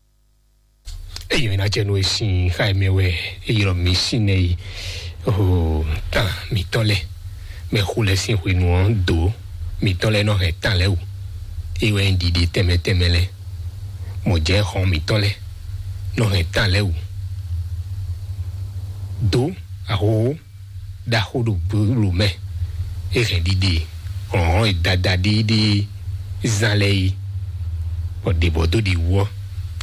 Eyi ɔ́ ná jɛ nú e sín xá e mɛ wɛ e ylɔ́ mi sín nɛ yi. Oo, tán mǐtɔn lɛ́ɛ, mɛ xo lɛ́ɛ sín hwenu ɔ́ dǒ mǐtɔn lɛ́ɛ nɔ hɛn tán lɛ́ɛ wú. É wɛ nyí ɖiɖe tɛnmɛ tɛnmɛ lɛ́ɛ, mɔ̌ jɛ xɔn mǐtɔn lɛ́ɛ nɔ hɛn tán lɛ́ɛ wú. Dǒ ahohó ɖaxó ɖo gblo mɛ, é hɛn ɖiɖe hlɔ̌nhlɔ́n e dada ɖéeɖée zán lɛ́ɛ é, bɔ ɖě bɔ dó ɖi wú ɔ́,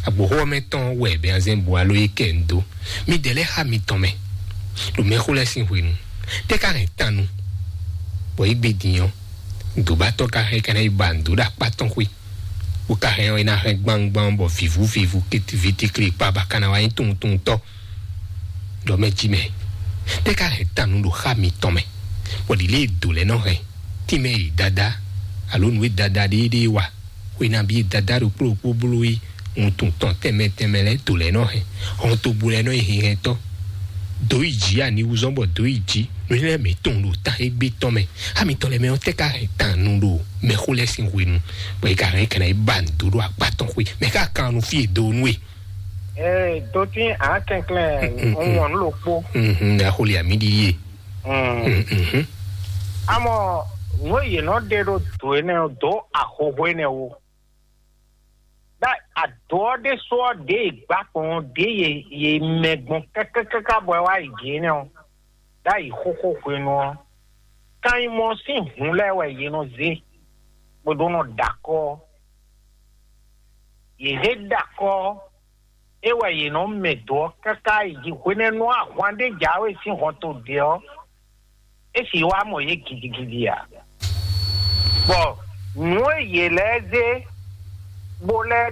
agboxó ɔ́ mɛ tɔn wɛ Bɛnzɛ́n bu alo é kɛ nu dó. Midɛɛ lɛ́ɛ xá mitɔn mɛ, ɖo mɛxó lɛ́ɛ sín hwenu, tɛ́ ka hɛn tannu, bɔ é gbe din ɔ́, nǔdóbátɔ́ ka hɛn ka ná yi ba nǔdó ɖo akpá tɔn xwé, bó ka hɛn ɔ́, é ná hɛn gbangban bɔ vǐvú vǐvú, vǐtikli kpa ba ka ná wá nyí tunwuntunwuntɔ́. Ɖɔ mɛ jí mɛ, tɛ́ ka hɛn tannu ɖo xá mitɔn mɛ, bɔ ɖi lě e dǒ lɛ́ɛ nɔ hɛn tínmɛ e dada alo nǔ e dada ɖéeɖée wa, xwe nabí e dada ɖokpó ɖokpó bló é, wuntun tɔn tɛnmɛ tɛnmɛ lɛ́ɛ dǒ lɛ́ɛ nɔ hɛn, hɔntogbó lɛ́ɛ nɔ nyi hinhɛntɔ́. Dǒ yi jǐ aniwúzɔ́n bɔ dǒ yi jǐ, nǔ lɛ́ɛ mɛ tɔn ɖo ta égbé tɔn mɛ. Xá mitɔn lɛ́ɛ mɛ ɔ́ tɛ́ ka hɛn tannu ɖo mɛxó lɛ́ɛ sín hwenu, bɔ é ka hɛn kɛnɛ yi ba nǔ dó ɖo akpá tɔn xwé, mɛ ká kan nu fí e dó nú e. Ee, dotín akɛnklɛn ŋwɔn ló kpó. Mhm, axoli ami ɖi ye. Mm. Mhm. Amɔ nǔ e yě nɔ ɖe ɖo dǒ énɛ́ ɔ́ dó ahohó énɛ́ wú. Ɖá adǒ ɔ́ ɖésú ɔ́ ɖě e gbǎkɔn ɔ́ ɖě ye ye mɛ gbɔn kákákáká bɔ é wá yi jǐ énɛ́ ɔ́, ɖ'ayǐ xóxó hwenu ɔ́, kan nyí mɔ sín hǔn lɛ́ɛ wɛ yě nɔ zé, bó ɖó nɔ ɖo akɔ́ ɔ́. Yě zé ɖo akɔ́ ɔ́, é wɛ yě nɔ mɛ dǒ ɔ́ káká yi jí hwenɛ́nu ahwan ɖé jǎwe sín hɔnto ɖě ɔ́, é sixú wá mɔ yě gidigidi ǎ. Bɔ Nǔ e yě lɛ́ɛ zé bó lɛ́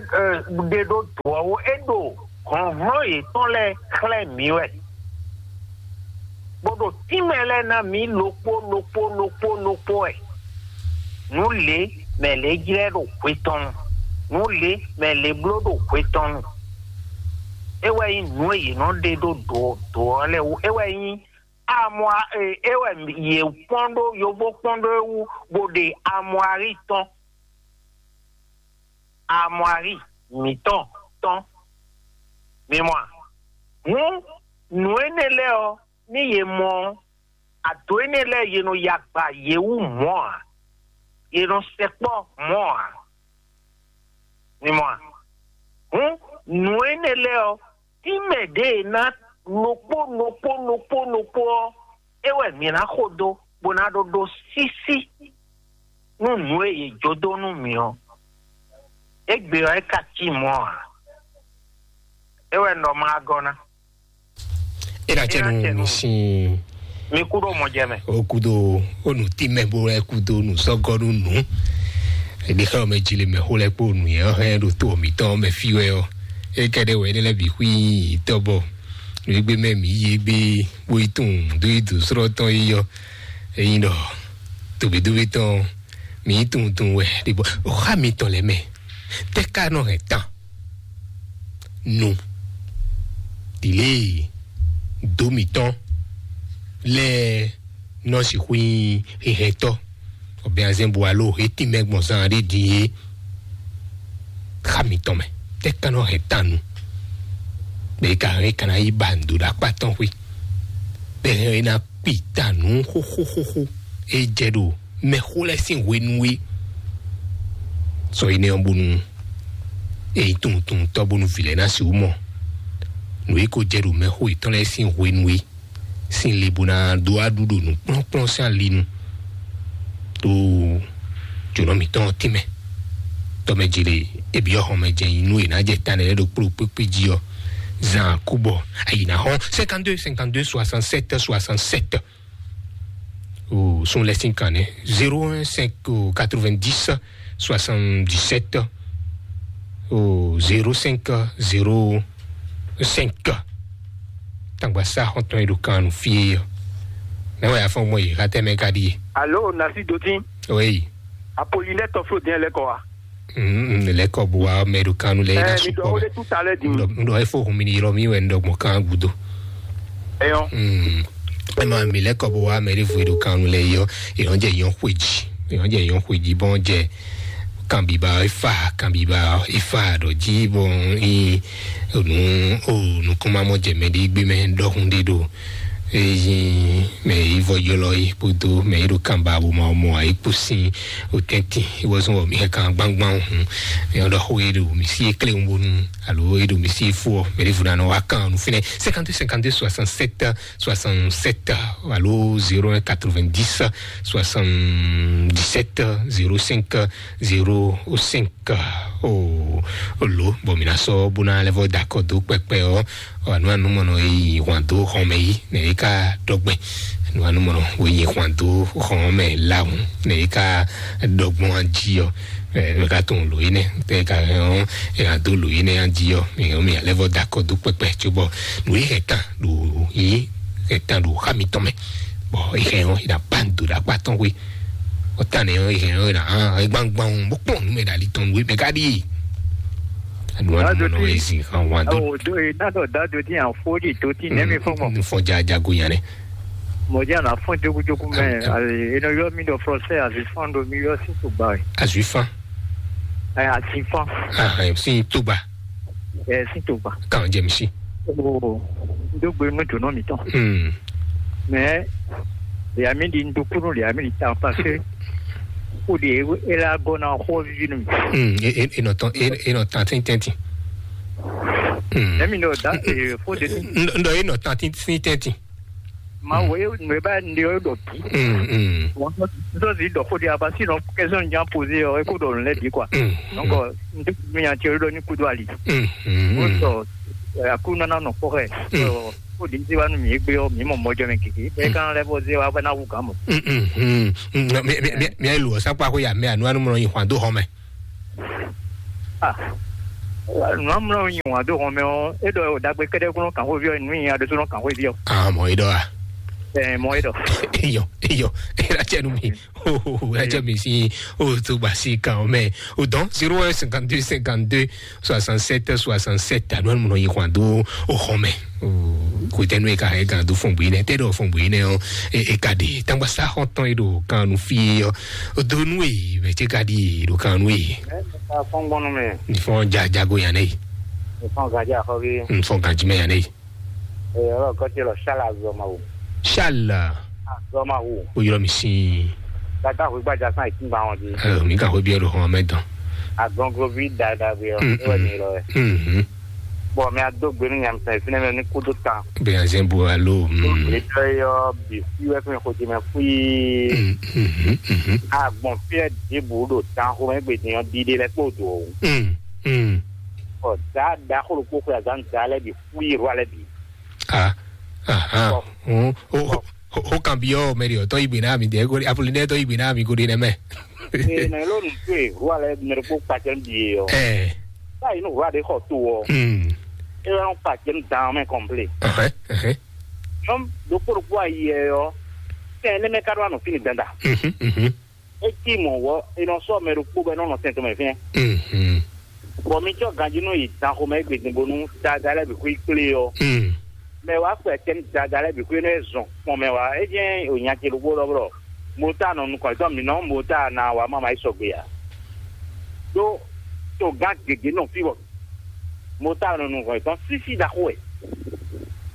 ɖe ɖó dǒ ɔ́ wú, é ɖo hlɔ̌nhlɔ́n yětɔn lɛ́ɛ xlɛ́ mǐ wɛ, bó ɖo tínmɛ lɛ́ɛ ná mǐ ɖokpó ɖokpó ɖokpó ɖokpó wɛ. Nǔ lě mɛ lě jlɛ́ ɖo hwe tɔn nu, nǔ lě mɛ lě bló ɖo hwe tɔn nu. É wɛ nyí nǔ e yě nɔ ɖe ɖó dǒ dǒ ɔ́ lɛ́ɛ wú. É wɛ nyí amwa e é wɛ yě kpɔ́n ɖó yovo kpɔ́n ɖó é wú, bó ɖe amwari tɔn, amwari mǐtɔn tɔn. Mi mɔ a? Hǔn nǔ énɛ́ lɛ́ɛ ɔ́, ní yě mɔ ɔ́, ado énɛ́ lɛ́ɛ yě nɔ yi agba yě wú mɔ̌ ǎ, yě nɔ sɛkpɔ́ mɔ̌ ǎ. Mi mɔ a? Hǔn nǔ énɛ́ lɛ́ɛ ɔ́, tínmɛ ɖě e ná ɖokpó ɖokpó ɖokpó ɖokpó ɔ́, é wɛ mǐ ná xo dó, bó ná ɖó ɖó sísí nú nǔ e yě jó dó nú mǐ ɔ́. Égbé ɔ́, é ka cí mɔ̌ ǎ. É wɛ un ɖɔ ma gɔ́ ná. É ná cɛ nu mi sin. Mi kú ɖo mɔ jɛ mɛ. O kudo o nu ti mɛ bo lɛ kudo nu sɔgɔ nu nu. Eɖi xɛ o mɛ dzi le mɛ xo lɛ kpo nu yɛ hɛn ɖo to mǐtɔn mɛ fi wɛ ɔ. E kɛ ɖe wɛ ne lɛ bi xwi tɔ bɔ. Egbe mɛ mi yi egbe bo yi tun do yi do srɔ tɔn yi yɔ. Eyin ɖɔ tobedobe tɔn mi yi tun tun wɛ ɖe bɔ o xa mi tɔn lɛ mɛ. Tɛ ka nɔ hɛn tan. Nu ɖile dó mǐtɔn lɛ́ɛ nɔ sixú nyí hehɛntɔ, ɔbɛazɛn bu alo he tínmɛ gbɔn zan ɖé din é. Xa mǐtɔn mɛ tɛ ka nɔ hɛn tan nu. Bɛ ka hɛn kana yi ba ndo ɖo akpa tɔn xwe. Bɛ hɛn na kpi ta nǔ xóxóxóxó. E jɛ ɖo mɛxó lɛ́ɛ sín hwenu é. Sɔ énɛ́ ɔ́ bónú e nyí tunwuntunwuntɔ́ bónú vǐ lɛ́ɛ ná sixú mɔ nǔ e ko jɛ ɖo mɛxó yětɔn lɛ́ɛ sín hwenu é sín le bó ná dó aɖu ɖo nǔkplɔ́nkplɔ́n sín ali nu. Ɖó jǒnɔ mǐtɔn ɔ́ tínmɛ tɔmɛ jele ebyɔ́ xɔmɛ jɛ nyi nú è nǎ jɛ ta nɛnɛ ɖo kpló kpékpé jí ɔ́. Zan kú bɔ ayi ná xɔ́n cinquante-deux cinquante-deux soixante-sept soixante-sept. O sun lɛ sín kan nɛ zéro un cinq quatre-vingt-dix soixante-dix-sept o zéro cinq zéro cinq. Tangba sa xɔntɔn yi ɖo kan nu fie yɔ. Nɛ wɛ afɔ mɔ yi xatɛ mɛ ka ɖi ye. Alo, nasi dotin. Oui. Apolinɛ tɔflo diɛ lɛ kɔ wa. Mm, lɛ kɔ bu wa mɛ ɖo kan nu lɛ. Ɛ, na mi dɔ sukɔ wole tu ta lɛ di. Ndɔ ndɔ efo hun mi ni yɔrɔ mi wɛ ndɔ gbɔn kan gudo. Eyɔn. Mm. Ema mi lɛ kɔ bu wa mɛ ɖe vo ɖo kan nu lɛ yɔ. Eyɔn jɛ yɔn xweji. Eyɔn jɛ yɔn xweji bɔn jɛ kanbiba efa kanbiba efa ɖɔ ji bɔn i nu o nukɔnmamɔ jɛ mɛ ɖe gbe mɛ dɔkun ɖe ɖo. Eyin mɛ yi vɔ yɔlɔ yi kpodo mɛ yi ɖo kanba bo ma mɔ ayi kpo sin o tɛntin iwɔ zɔn wɔ mi hɛ kan gbangban hun. Mɛ ɔdɔ xo yi ɖo mi si ekle ŋu bonu alo yi ɖo mi si fo mɛ ɖe vo na nɔ wa kan nu finɛ cinquante cinquante soixante-sept soixante-sept alo zéro un quatre-vingt-dix soixante-dix-sept zéro cinq zéro cinq. Ka o lo bɔ mi na sɔ bo na lɛ vɔ da kɔ do kpɛkpɛ ɔ anu anu mɔnɔ yi hwan do xɔmɛ yi nɛ yi ka dɔgbɛ anu anu mɔnɔ wo yi hwan do xɔmɛ lahun nɛ yi ka dɔgbɔn aji ɔ ɛ ka tɔn lo yi nɛ tɛ ka hɛn ɔ ɛ ka do lo yi nɛ aji ɔ mi hɛn mi alɛ vɔ da kɔ do kpɛkpɛ tso bɔ nu yi hɛ tan do yi hɛ tan do xa mi tɔn mɛ bɔ yi hɛ ɔ yi na ban do da kpa tɔn we ɔtane ɔ yi hɛ ɔ yi na hàn ɛ gbangban o bó kpɔn nu mɛ dali tɔn we mɛ ka di. Anu anu mɔnɔ ezi hàn wan do. Awo do e na dɔ da do ti an fo di to ti nɛ mi fɔ mɔ. Nufɔ ja jago yan nɛ. Mɔ ja na fɔn jogo jogo mɛ. Alo e nɔ yɔ mi dɔ français azi fan do mi yɔ si to gba. Azi fan. Ɛ azi fan. Ah, si to gba. Ɛ si to gba. Kan jɛ mi si. O do gbe nu to nɔ mi tɔn. Hmm. Mais les amis di ndukunu les amis di tan parce que o de e la gona ho vinu. Hmm, e e e no tan e e no tan tin tenti. Hmm. Emi no da e fo de. Ndo e no tan tin tin tenti. Ma wo e no e ba ndi o do tu. Hmm, hmm. Ndo si do ko di aba si no question ja poser o e ko do le di quoi. Hmm. Donc ndo mi ya ti o do ni kudo ali. Hmm, hmm, hmm. So ya ku na na no ko he. Hmm. So Ko ɖi sí wa nú mi gbé ɔ, mi mɔ mɔjɔ mɛ kiki. Bɛ kan lɛ bɔ zé wa bɛ na wu kan mɔ. Mm, mm, mm, mm, mi, mi, mi, mi lo sa kpa ko ya mi anu anu mɔ yi hwan do hɔn mɛ. Ah. Nu amlɔ yi hwan do hɔn mɛ ɔ, e dɔ dagbe kɛdɛ kɔnɔ kan ko vi ɔ, nu yi a do so kan ko vi ɔ. Ah, mɔ e dɔ a. Ɛ, mɔ e dɔ. Iyo, iyo, e la cɛ nu mi. Oh, oh, oh, ɛ jɛ mi si, o to gba si kan o mɛ. O dɔn, zéro un cinquante-deux cinquante-deux soixante-sept soixante-sept, anu anu mɔ yi hwan do o hɔn mɛ. Ko tɛ nu e ka hɛn gan do fɔn bui nɛ, tɛ dɔ fɔn bui nɛ ɔ, e, e ka di tangba sa xɔn tɔn e do kan nu fi ɔ, o do nu e mɛ ce ka di e do kan nu e. Ɛ, ka fɔn gbɔn nu mɛ. Ni fɔn ja jago yan ne. Ni fɔn gaja xɔ bi. Ni fɔn gajimɛ yan ne. Ee, ɔlɔ kɔtɛ lɔ Charles Azɔmawu. Charles. Azɔmawu. O yɔrɔ mi sin. Tata hu gbaja san ìtúngba wọn di. Ɛ, mi ka hwe biɛ do hɔn mɛ dɔn. Agɔngɔ vi dada bi ɔ. Mm, e wɛ mm. Ni lɔ wɛ. Mhm. Bɔn mi ado gbenu nyamsɛn fínɛ mɛ ní kúdó tan. Bɛ azɛn bo alo. Tó mm. Gbèsè yɔ bi fi wɛ fún ìkojì mɛ fún yìí. Mm, mhm, mhm. Agbɔn fíɛ dìbò ɖo tan xó mɛ gbèdé yɔ dídé lɛ kpó dò o. Mm, mm. Ɔ da da xó ɖokpó xó azán da lɛ bi fún yìí rɔ alɛ bi. Ah, aha. Bɔn. Mm. O, o, o, o kan bi ɔ mɛ de ɔ tɔ yi gbe na mi de ko apolline tɔ yi gbe na mi ko de nɛ mɛ. Ee, nɛ ló nu tó e rɔ alɛ mɛ ɖokpó kpacɛ ń bi e ɔ. Ɛ. Báyìí nù wá de xɔ tó ɔ. Hmm. E wɛ ń kpacɛ ń dan mɛ kɔmplé. Ɛhɛn, ɛhɛn. Nyɔm ɖokpó ɖokpó ayi ɛ ɔ. Fɛn ne mɛ ka ɖo anɔ fini danda. Mhm, mhm. E ti mɔ wɔ e nɔ sɔ mɛ ɖokpó bɛ nɔ nɔ sɛn tɔmɛ fɛn. Mhm. Bɔn mi tsɔ ganji nɔ yi dan xomɛ gbedin bonu dada lɛ bi xwi kplé ɔ. Hmm. Mɛ wa kpɛ tɛm dada lɛ bi xwi nɔ zɔn kpɔn mɛ wa. E jɛ o nya ce ɖokpó lɔ blɔ. Mota nɔ nukɔn tɔn mi nɔ mota na wa mama yi sɔgbe ya. Ɖó togán gěgé nɔ fí bɔ mota nɔ nukɔn tɔn sísí ɖaxó wɛ.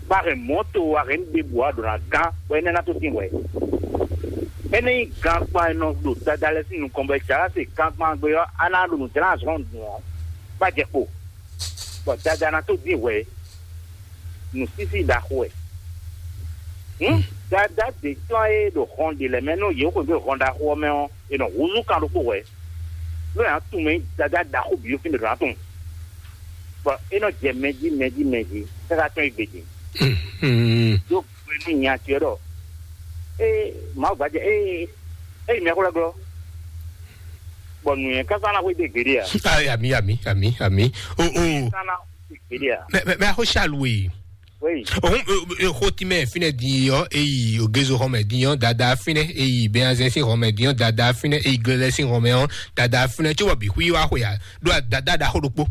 Ba hɛn mɔto wa hɛn ɖe bu wa ɖo na gán bɔ énɛ́ ná tó tín hwɛ. Énɛ́ nyí gankpan e nɔ ɖo dada lɛ́ɛ sín nukɔn bɔ é jǎ se gankpan gbe ɔ́, a ná ɖo nǔ jlá azɔn dùn ɔ́, bá jɛ kpo, bɔ dada ná tó dín hwɛ. Nǔsísí ɖaxó wɛ. Hǔn dada ɖě tɔn e ɖo hɔn ɖě lɛ́ɛ mɛ nú yě xwedó hɔn ɖaxó ɔ́ mɛ ɔ́, è nɔ húzú kan ɖokpó hwɛ. Nú è nǎ tunwun mɛ nyí dada ɖaxó bǐ ɖo fínɛ́ ɖo ná tunwun. Bɔ é nɔ jɛ mɛ jí mɛ jí mɛ jí káká tɔn yi gbe din. Ɖó gbe nú nya ce ɖɔ ée Mawu gbajɛ ée ée mɛ xwlɛ́ glɔ́. Bɔ nǔnywɛ́ káká ná xwedó gbeɖé ǎ. Ami, ami, ami, ami. O o. Káká ná xwedó gbeɖé ǎ. Mɛ mɛ mɛ axo Charles we. Oui. Ohun, eh, eh, xó tí mɛ fínɛ din ɔ́, eyi Ogezo xɔmɛ din ɔ́, dada fínɛ, eyi Bɛnazɛn sín xɔmɛ din ɔ́, dada fínɛ, eyi Glɛlɛ sín xɔmɛ ɔ́, dada fínɛ, tso bɔ bǐ xwí wá xwe ǎ, ɖó dada ɖaxó ɖokpó.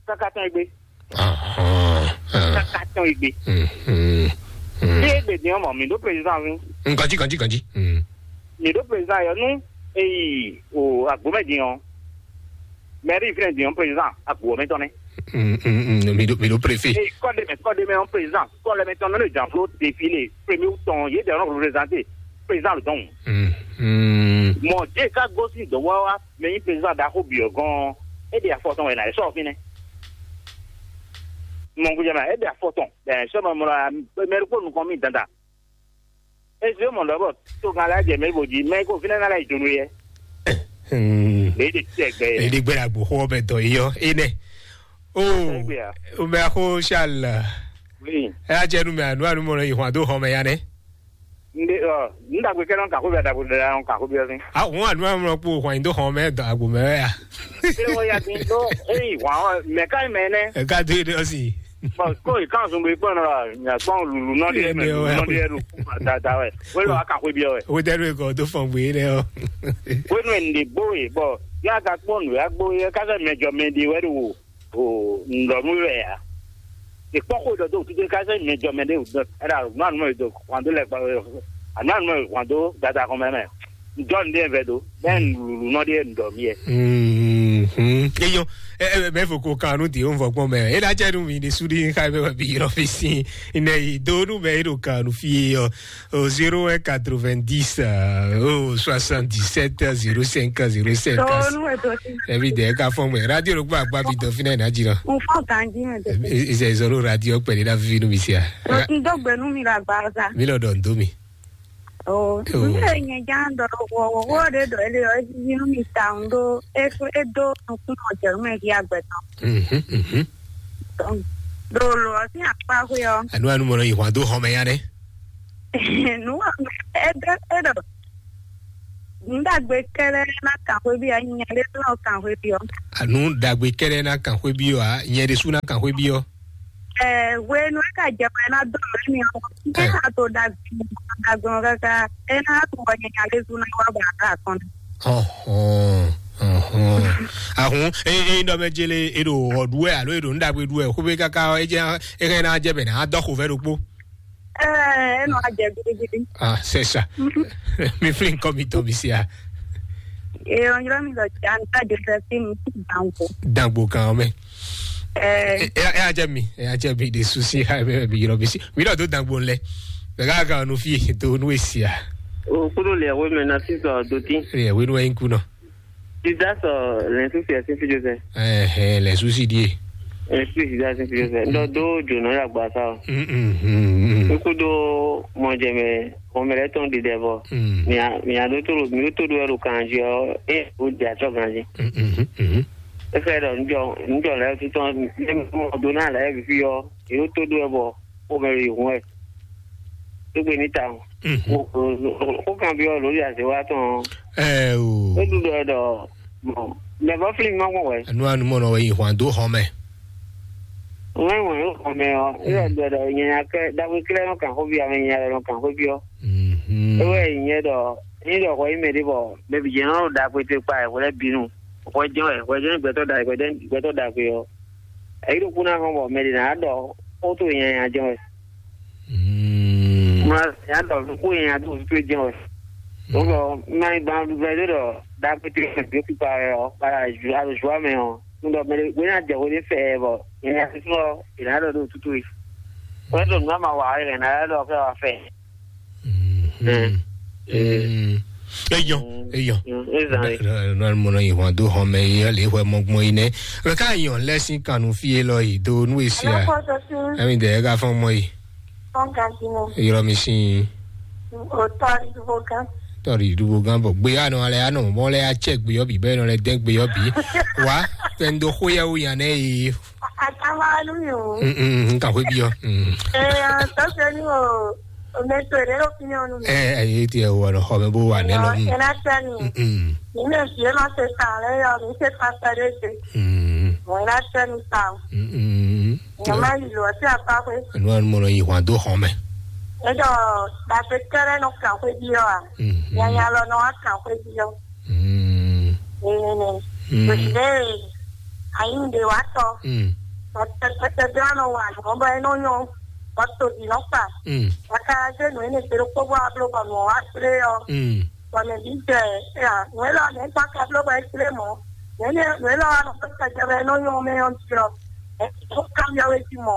Kaka tɔn egbe. Ahɔn, ahɔn. Kaka tɔn egbe. Mhm, mhm. Bí egbe din ɔ́ mɔ, mi ɖó président fún. Mm, kanji, kanji, kanji. Mm. Mi ɖó président yɔ nú eyi o agbomɛ din ɔ́. Mairie fínɛ din ɔ́, président agbomɛ tɔn nɛ. Mm, mm, mm, mi ɖó, mi ɖó préfet. Eye kɔɖe mɛ, kɔɖe mɛ ɔ́, président, kɔɖe mɛ tɔn nɔ ɖo janflo défilé, premier tɔn, yě ɖe nɔ représenter président le dɔn. Mm, mm. Mɔ, Dieu ka gosín dɔ̌nwawa mɛ nyí président ɖaxó bǐ ɔ́ gɔ́n ɔ́, é ɖe afɔ tɔn wɛ ná yi sɔ́ fínɛ́. Mɔ gúdjɛ mɛ, é ɖe afɔ tɔn, bɛn sɔ́ mɛ mɔ la, mɛ ɖokpó nukɔn mì dandan. É zé mɔ ɖɔ bɔ togán lɛ́ɛ jɛ mɛ bó jí, mɛ ko fínɛ́ ná lɛ́ yi donu yɛ. Hmm. Lě ɖe tí ẹgbẹ́ yɛ. Lě ɖe gbé la gbó xó bɛ dɔ yɔ, é nɛ. O, Ẹgbẹ́ ya. O mɛ xó Charles. Oui. Ɛ á jẹ́ nu mɛ ànú ànú mɔ yi hwan dó xɔ mɛ ya nɛ. Nde ɔ, n dagbe kɛ nɔ kakó bɛ dagbe dɛ nɔ kakó bɛ sin. A wọn ànú ànú mɔ kpó hwan dó xɔ mɛ dɔ agbo mɛ ya. Ṣé wọ́n ya ti tó? Eyi wọ́n àwọn mẹ̀ká ìmẹ̀ nẹ. Ẹ ká dé dé ọsì. Bɔn kó ìkànsùn bí gbọ́n náà yà gbọ́n lùlù náà díẹ̀ mẹ́ lùlù náà díẹ̀ lù. Dáadáa wẹ̀ wọ́n lọ akàkó ibi ọ̀wẹ̀. Owó tẹ́lú ẹ̀kọ́ tó fọ̀n gbé lẹ́ ọ. Wọ́n nù ẹ̀ ń dè bó yìí bọ̀ yá ka kpọ́n nù yá gbó yẹ kásẹ̀ mẹ́jọ mẹ́dí wẹ́ lò wò. O ŋlɔnu wɛ ya. Ìkpɔ́kɔ ɖɔ dó òtútù ká sɛ mi jɔ mɛ ɖé o dɔn. Ɛɖa anu anu mɛ do kwan dó lɛ gba anu anu mɛ kwan dó dada kɔn mɛ mɛ. Ŋjɔ nu ɖe vɛ do. Bɛ lulu nɔ ɖe ŋdɔ mi yɛ. Mhm. Eyɔ, ɛ, ɛ, mɛ fo ko kan nu di o vɔ gbɔn mɛ. E la jɛ nu mi de su di ka mɛ bi yɔrɔ fi si. Ine yi do nu mɛ e do kan nu fi yɔ. Au zéro un quatre-vingt-dix, euh, au soixante-dix-sept zéro cinq zéro cinq. Tɔɔ nu ɛtɔ si. Ebi de ka fɔ mɛ. Radio lo gba gba bi dɔ fi na na jira. Mo fɔ ganji mɛ tɛ. Ise zoro radio pɛlɛ na fi nu mi sia. Mo ti dɔ gbɛnu mi la gba sa. Mi lɔ dɔ ndo mi. Oh, oh. Mi le nye jan dɔ wo wo wo de dɔ ele o ji nu mi ta ndo e e do nukun o jɛ nu mɛ ki agbɛ tɔn. Mhm, mhm. Donc, Ɖo lǒ ɔ́ sín akpá xwé ɔ́. Anu anu mɔ nɔ yi hwan dó xɔmɛ ya nɛ. Nǔ wa mɛ é ɖɔ é ɖɔ nǔ ɖagbe kɛ́ɖɛ́ ná kan xwé bí anyanya ɖé tó nɔ kan xwé bí ɔ́. Anu ɖagbe kɛ́ɖɛ́ ná kan xwé bí ɔ́, a nyɛ ɖésú ná kan xwé bí ɔ́. Ɛ hwenu é ka jɛ mɛ ná dó mɛ mi ɔ́, é ka to ɖagbe ɖagbe ɔ́ káká é ná to wɔ nyanya ɖésú ná wá ba ká kɔn. Ɔhɔn, ɔhɔn. Ahun, e e ŋdɔ mɛ jele e ɖo ɔ ɖu wɛ alo e ɖo nu ɖagbe ɖu wɛ xwé káká ɔ, e jɛ e hɛn ná jɛ bɛ ná dɔ xo vɛ ɖokpo. Ɛɛ, e nɔ ajɛ gidigidi. Ah, c'est ça. Mi flin kɔ mi tɔ mi sia. E ɔ nyrɔ mi lɔ ja n ta joseph mi dango. Dangbo kan mɛ. Ɛɛ, E e ajɛ mi, e ajɛ mi de susi ha mɛ mi yɔrɔ mi si. Mi lɔ do dangbo lɛ. Bɛ ka kan nu fi do nu esia. O kudo le we me na si sɔ do tin. E we nu en kuno. Judas ɔ lɛn susi ɛ sin fi joseph. Ɛhɛ, lɛ susi die. Ɛn susi judas sin fi joseph ndɔ do jonɔ ya gba sa o. Mm, mm, mm, mm. N kudo mɔjɛmɛ mɔmɛ lɛ tɔn ɖiɖɛ bɔ Mm. Mia mia ɖo to ɖo mi ɖo to ɖo ɛɖo kanji ɔ e o di atsɔ ganji. Mm, mm, mm, mm. Efe ɖɔ njɔ njɔ lɛ tutɔ ne mɔ do na lɛ bi fi ɔ e ɖo to ɖo ɛ bɔ o mɛ yi hun ɛ. Tó gbe ní ta o. Mhm. O o o kan bi ɔ lórí àṣewá tɔn. Ɛ o. Ó dúdú ɛ ɖɔ mɔ mɛ bɔ fílímù má gbɔn wɛ. Enu anu mɔ nɔ wɛ yi hwan dó xɔ mɛ. Wọ́n wọ̀nyí xɔmɛ ɔ, yóò gbẹdọ̀ nyanya kɛ dagbe kílẹ̀ nɔ kàn xóbi ame nyanya lɛ nɔ kàn xóbi ɔ. Mhm. Ewé nyɛ ɖɔ ní ɖɔ xɔ yí mɛ ɖé bɔ bɛbi jɛ nɔ da kpete kpa ɛ hwlɛ bínú. Xɔ jɛn ɛ xɔ jɛn gbɛtɔ da gbɛtɔ da gbe ɔ. Èyí ɖo kú náà hɔn bɔ mɛ ɖě ná ɖɔ xó tó nyanya jɛn ɛ. Mm. Mlɔ ya ɖɔ xó nyanya tó tó jɛn ɛ. Wọ́n bɔ mɛ gban bɛ ɖé ɖɔ da kpete gbɛtɔ kpa ɛ ɔ kpa alo zua mɛ ɔ. Ŋdɔ mɛ ɖé wé ná jɛ hwe ɖé fɛ bɔ nyanya tó ɔ è nǎ ɖɔ ɖo tútú yi. Wọ́n tó nǔ ma wa ɛ nǎ ɖɔ kɛ wa fɛ. Mm. Eyɔn, eyɔn. Ezali. Nɔ mɔ nɔ yi hɔn do hɔn mɛ yi le hwɛ mɔ gbɔn yi nɛ. Mɛ ka yɔn lɛ sin kanu fi e lɔ yi do nu esi a. Ɛmi dɛ ɛ ka fɔn mɔ yi. Fɔn kan ti mɔ. Yɔrɔ mi sin. O tɔri dubo kan. Tɔri dubo kan bɔ gbe anɔ alɛ anɔ mɔ lɛ atsɛ gbe yɔ bi bɛ nɔ lɛ dɛn gbe yɔ bi. Wa tɛ n do xo yɛ wo yan nɛ yi. Atama nu mi o. Mm, mm, mm, ka hwe bi yɔ. Mm. Eh, tɔsɛ ni o. O mɛ to ɖe ɖo fi nyɔnu mi. Ɛ ɛ ye tiɛ wɔ nɔ xɔ mɛ bó wà nɛ lɔ. Ɛna tɛ ni. Mm. Ni mɛ fi ma se ta lɛ yɔ mi se ta tɛ ɖe se. Mm. Mo ɛna tɛ ni ta o. Mm. Nyama yi lɔ ti apa kwe. Enu anu mɔ nɔ yi hwan do xɔ mɛ. Eɖɔ dagbe kɛrɛ nɔ kan xwe bi yɔ a. Mm. Nyanya lɔ nɔ wa kan xwe bi yɔ. Mm. Ee, Mm. Ɖe ayi ɖe wa tɔ. Mm. Ɔtɛ ɔtɛ bla nɔ wa nɔ bɔ e nɔ nyɔ. Ɔtɔ di nɔ kpa. Mm. Aka se nu ene se ɖo kpɔgbɔ ablo bɔ nɔ wa kple yɔ. Mm. Bɔ mɛ bi jɛ ya nu ela mɛ kpa ka blo bɔ e kple mɔ. Nu ene nu ela wa nɔ kpa ka jɛ bɔ e nɔ nyɔ mɛ yɔ ti ɔ. E ko kan yɔ we ti mɔ.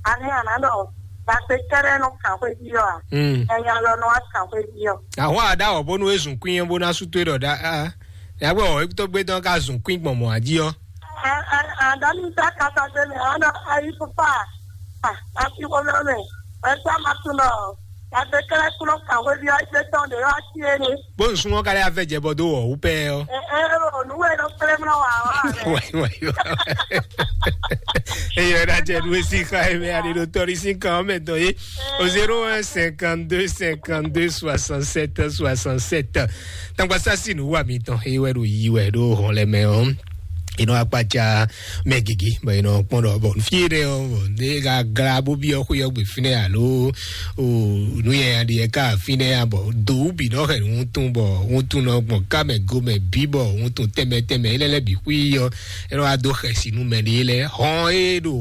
Ani ana dɔ. Ba se kɛrɛ nɔ kan xwe ji yɔ a. Mm. Ɛnya lɔ nɔ wa kan xwe ji yɔ. Àwọn àdáwọ̀ bónú èsùn kún yẹn bó ná sú tó dọ̀ dá. Yàgbé ọ̀ èkútó gbé tán ká zùn kún ìgbọ̀n mọ̀ àjí ọ́. Àdánù tá kàtà gbẹmí àwọn ayé pupa àti wọlọmẹ ẹgbẹ máa tún lọ. Àti kẹlẹ kúrò kàwé bí ọjọ́ tán lè wá sí ẹni. Bó ń súnmọ́ kálí afẹ́ jẹ bọ́ dó wọ̀ wú pẹ́ ọ́. Ẹ ẹ olúwẹ̀ ló pẹ́lẹ́ mọ́ wà wá rẹ̀. Wáyé wáyé wáyé. Eyɔ ɖe adze nu esi xa eme aɖe ɖo tɔɖi sin kan ɔmɛ dɔ ye. O zéro un cinquante-deux cinquante-deux soixante-sept soixante-sept. Tangba sasi nu wa mi tɔn eye wɛ ɖo yi wɛ ɖo hɔn lɛ mɛ ɔ. Inɔ akpatsa mɛ gigi bɔ inɔ kpɔn ɖɔ bɔ fi ɖe ɔ bɔ ne ka gra bo bi ɔ xo yɔ gbe fi nɛ alo o nu yɛ ya ɖi yɛ ka fi nɛ ya bɔ do bi nɔ hɛ ŋutun bɔ ŋutun nɔ gbɔn kamɛ gomɛ bi bɔ ŋutun tɛmɛ tɛmɛ ilɛ lɛ bi xui yɔ. Enɔ wa do xɛsi nú mɛ ɖe lɛ hɔn e ɖo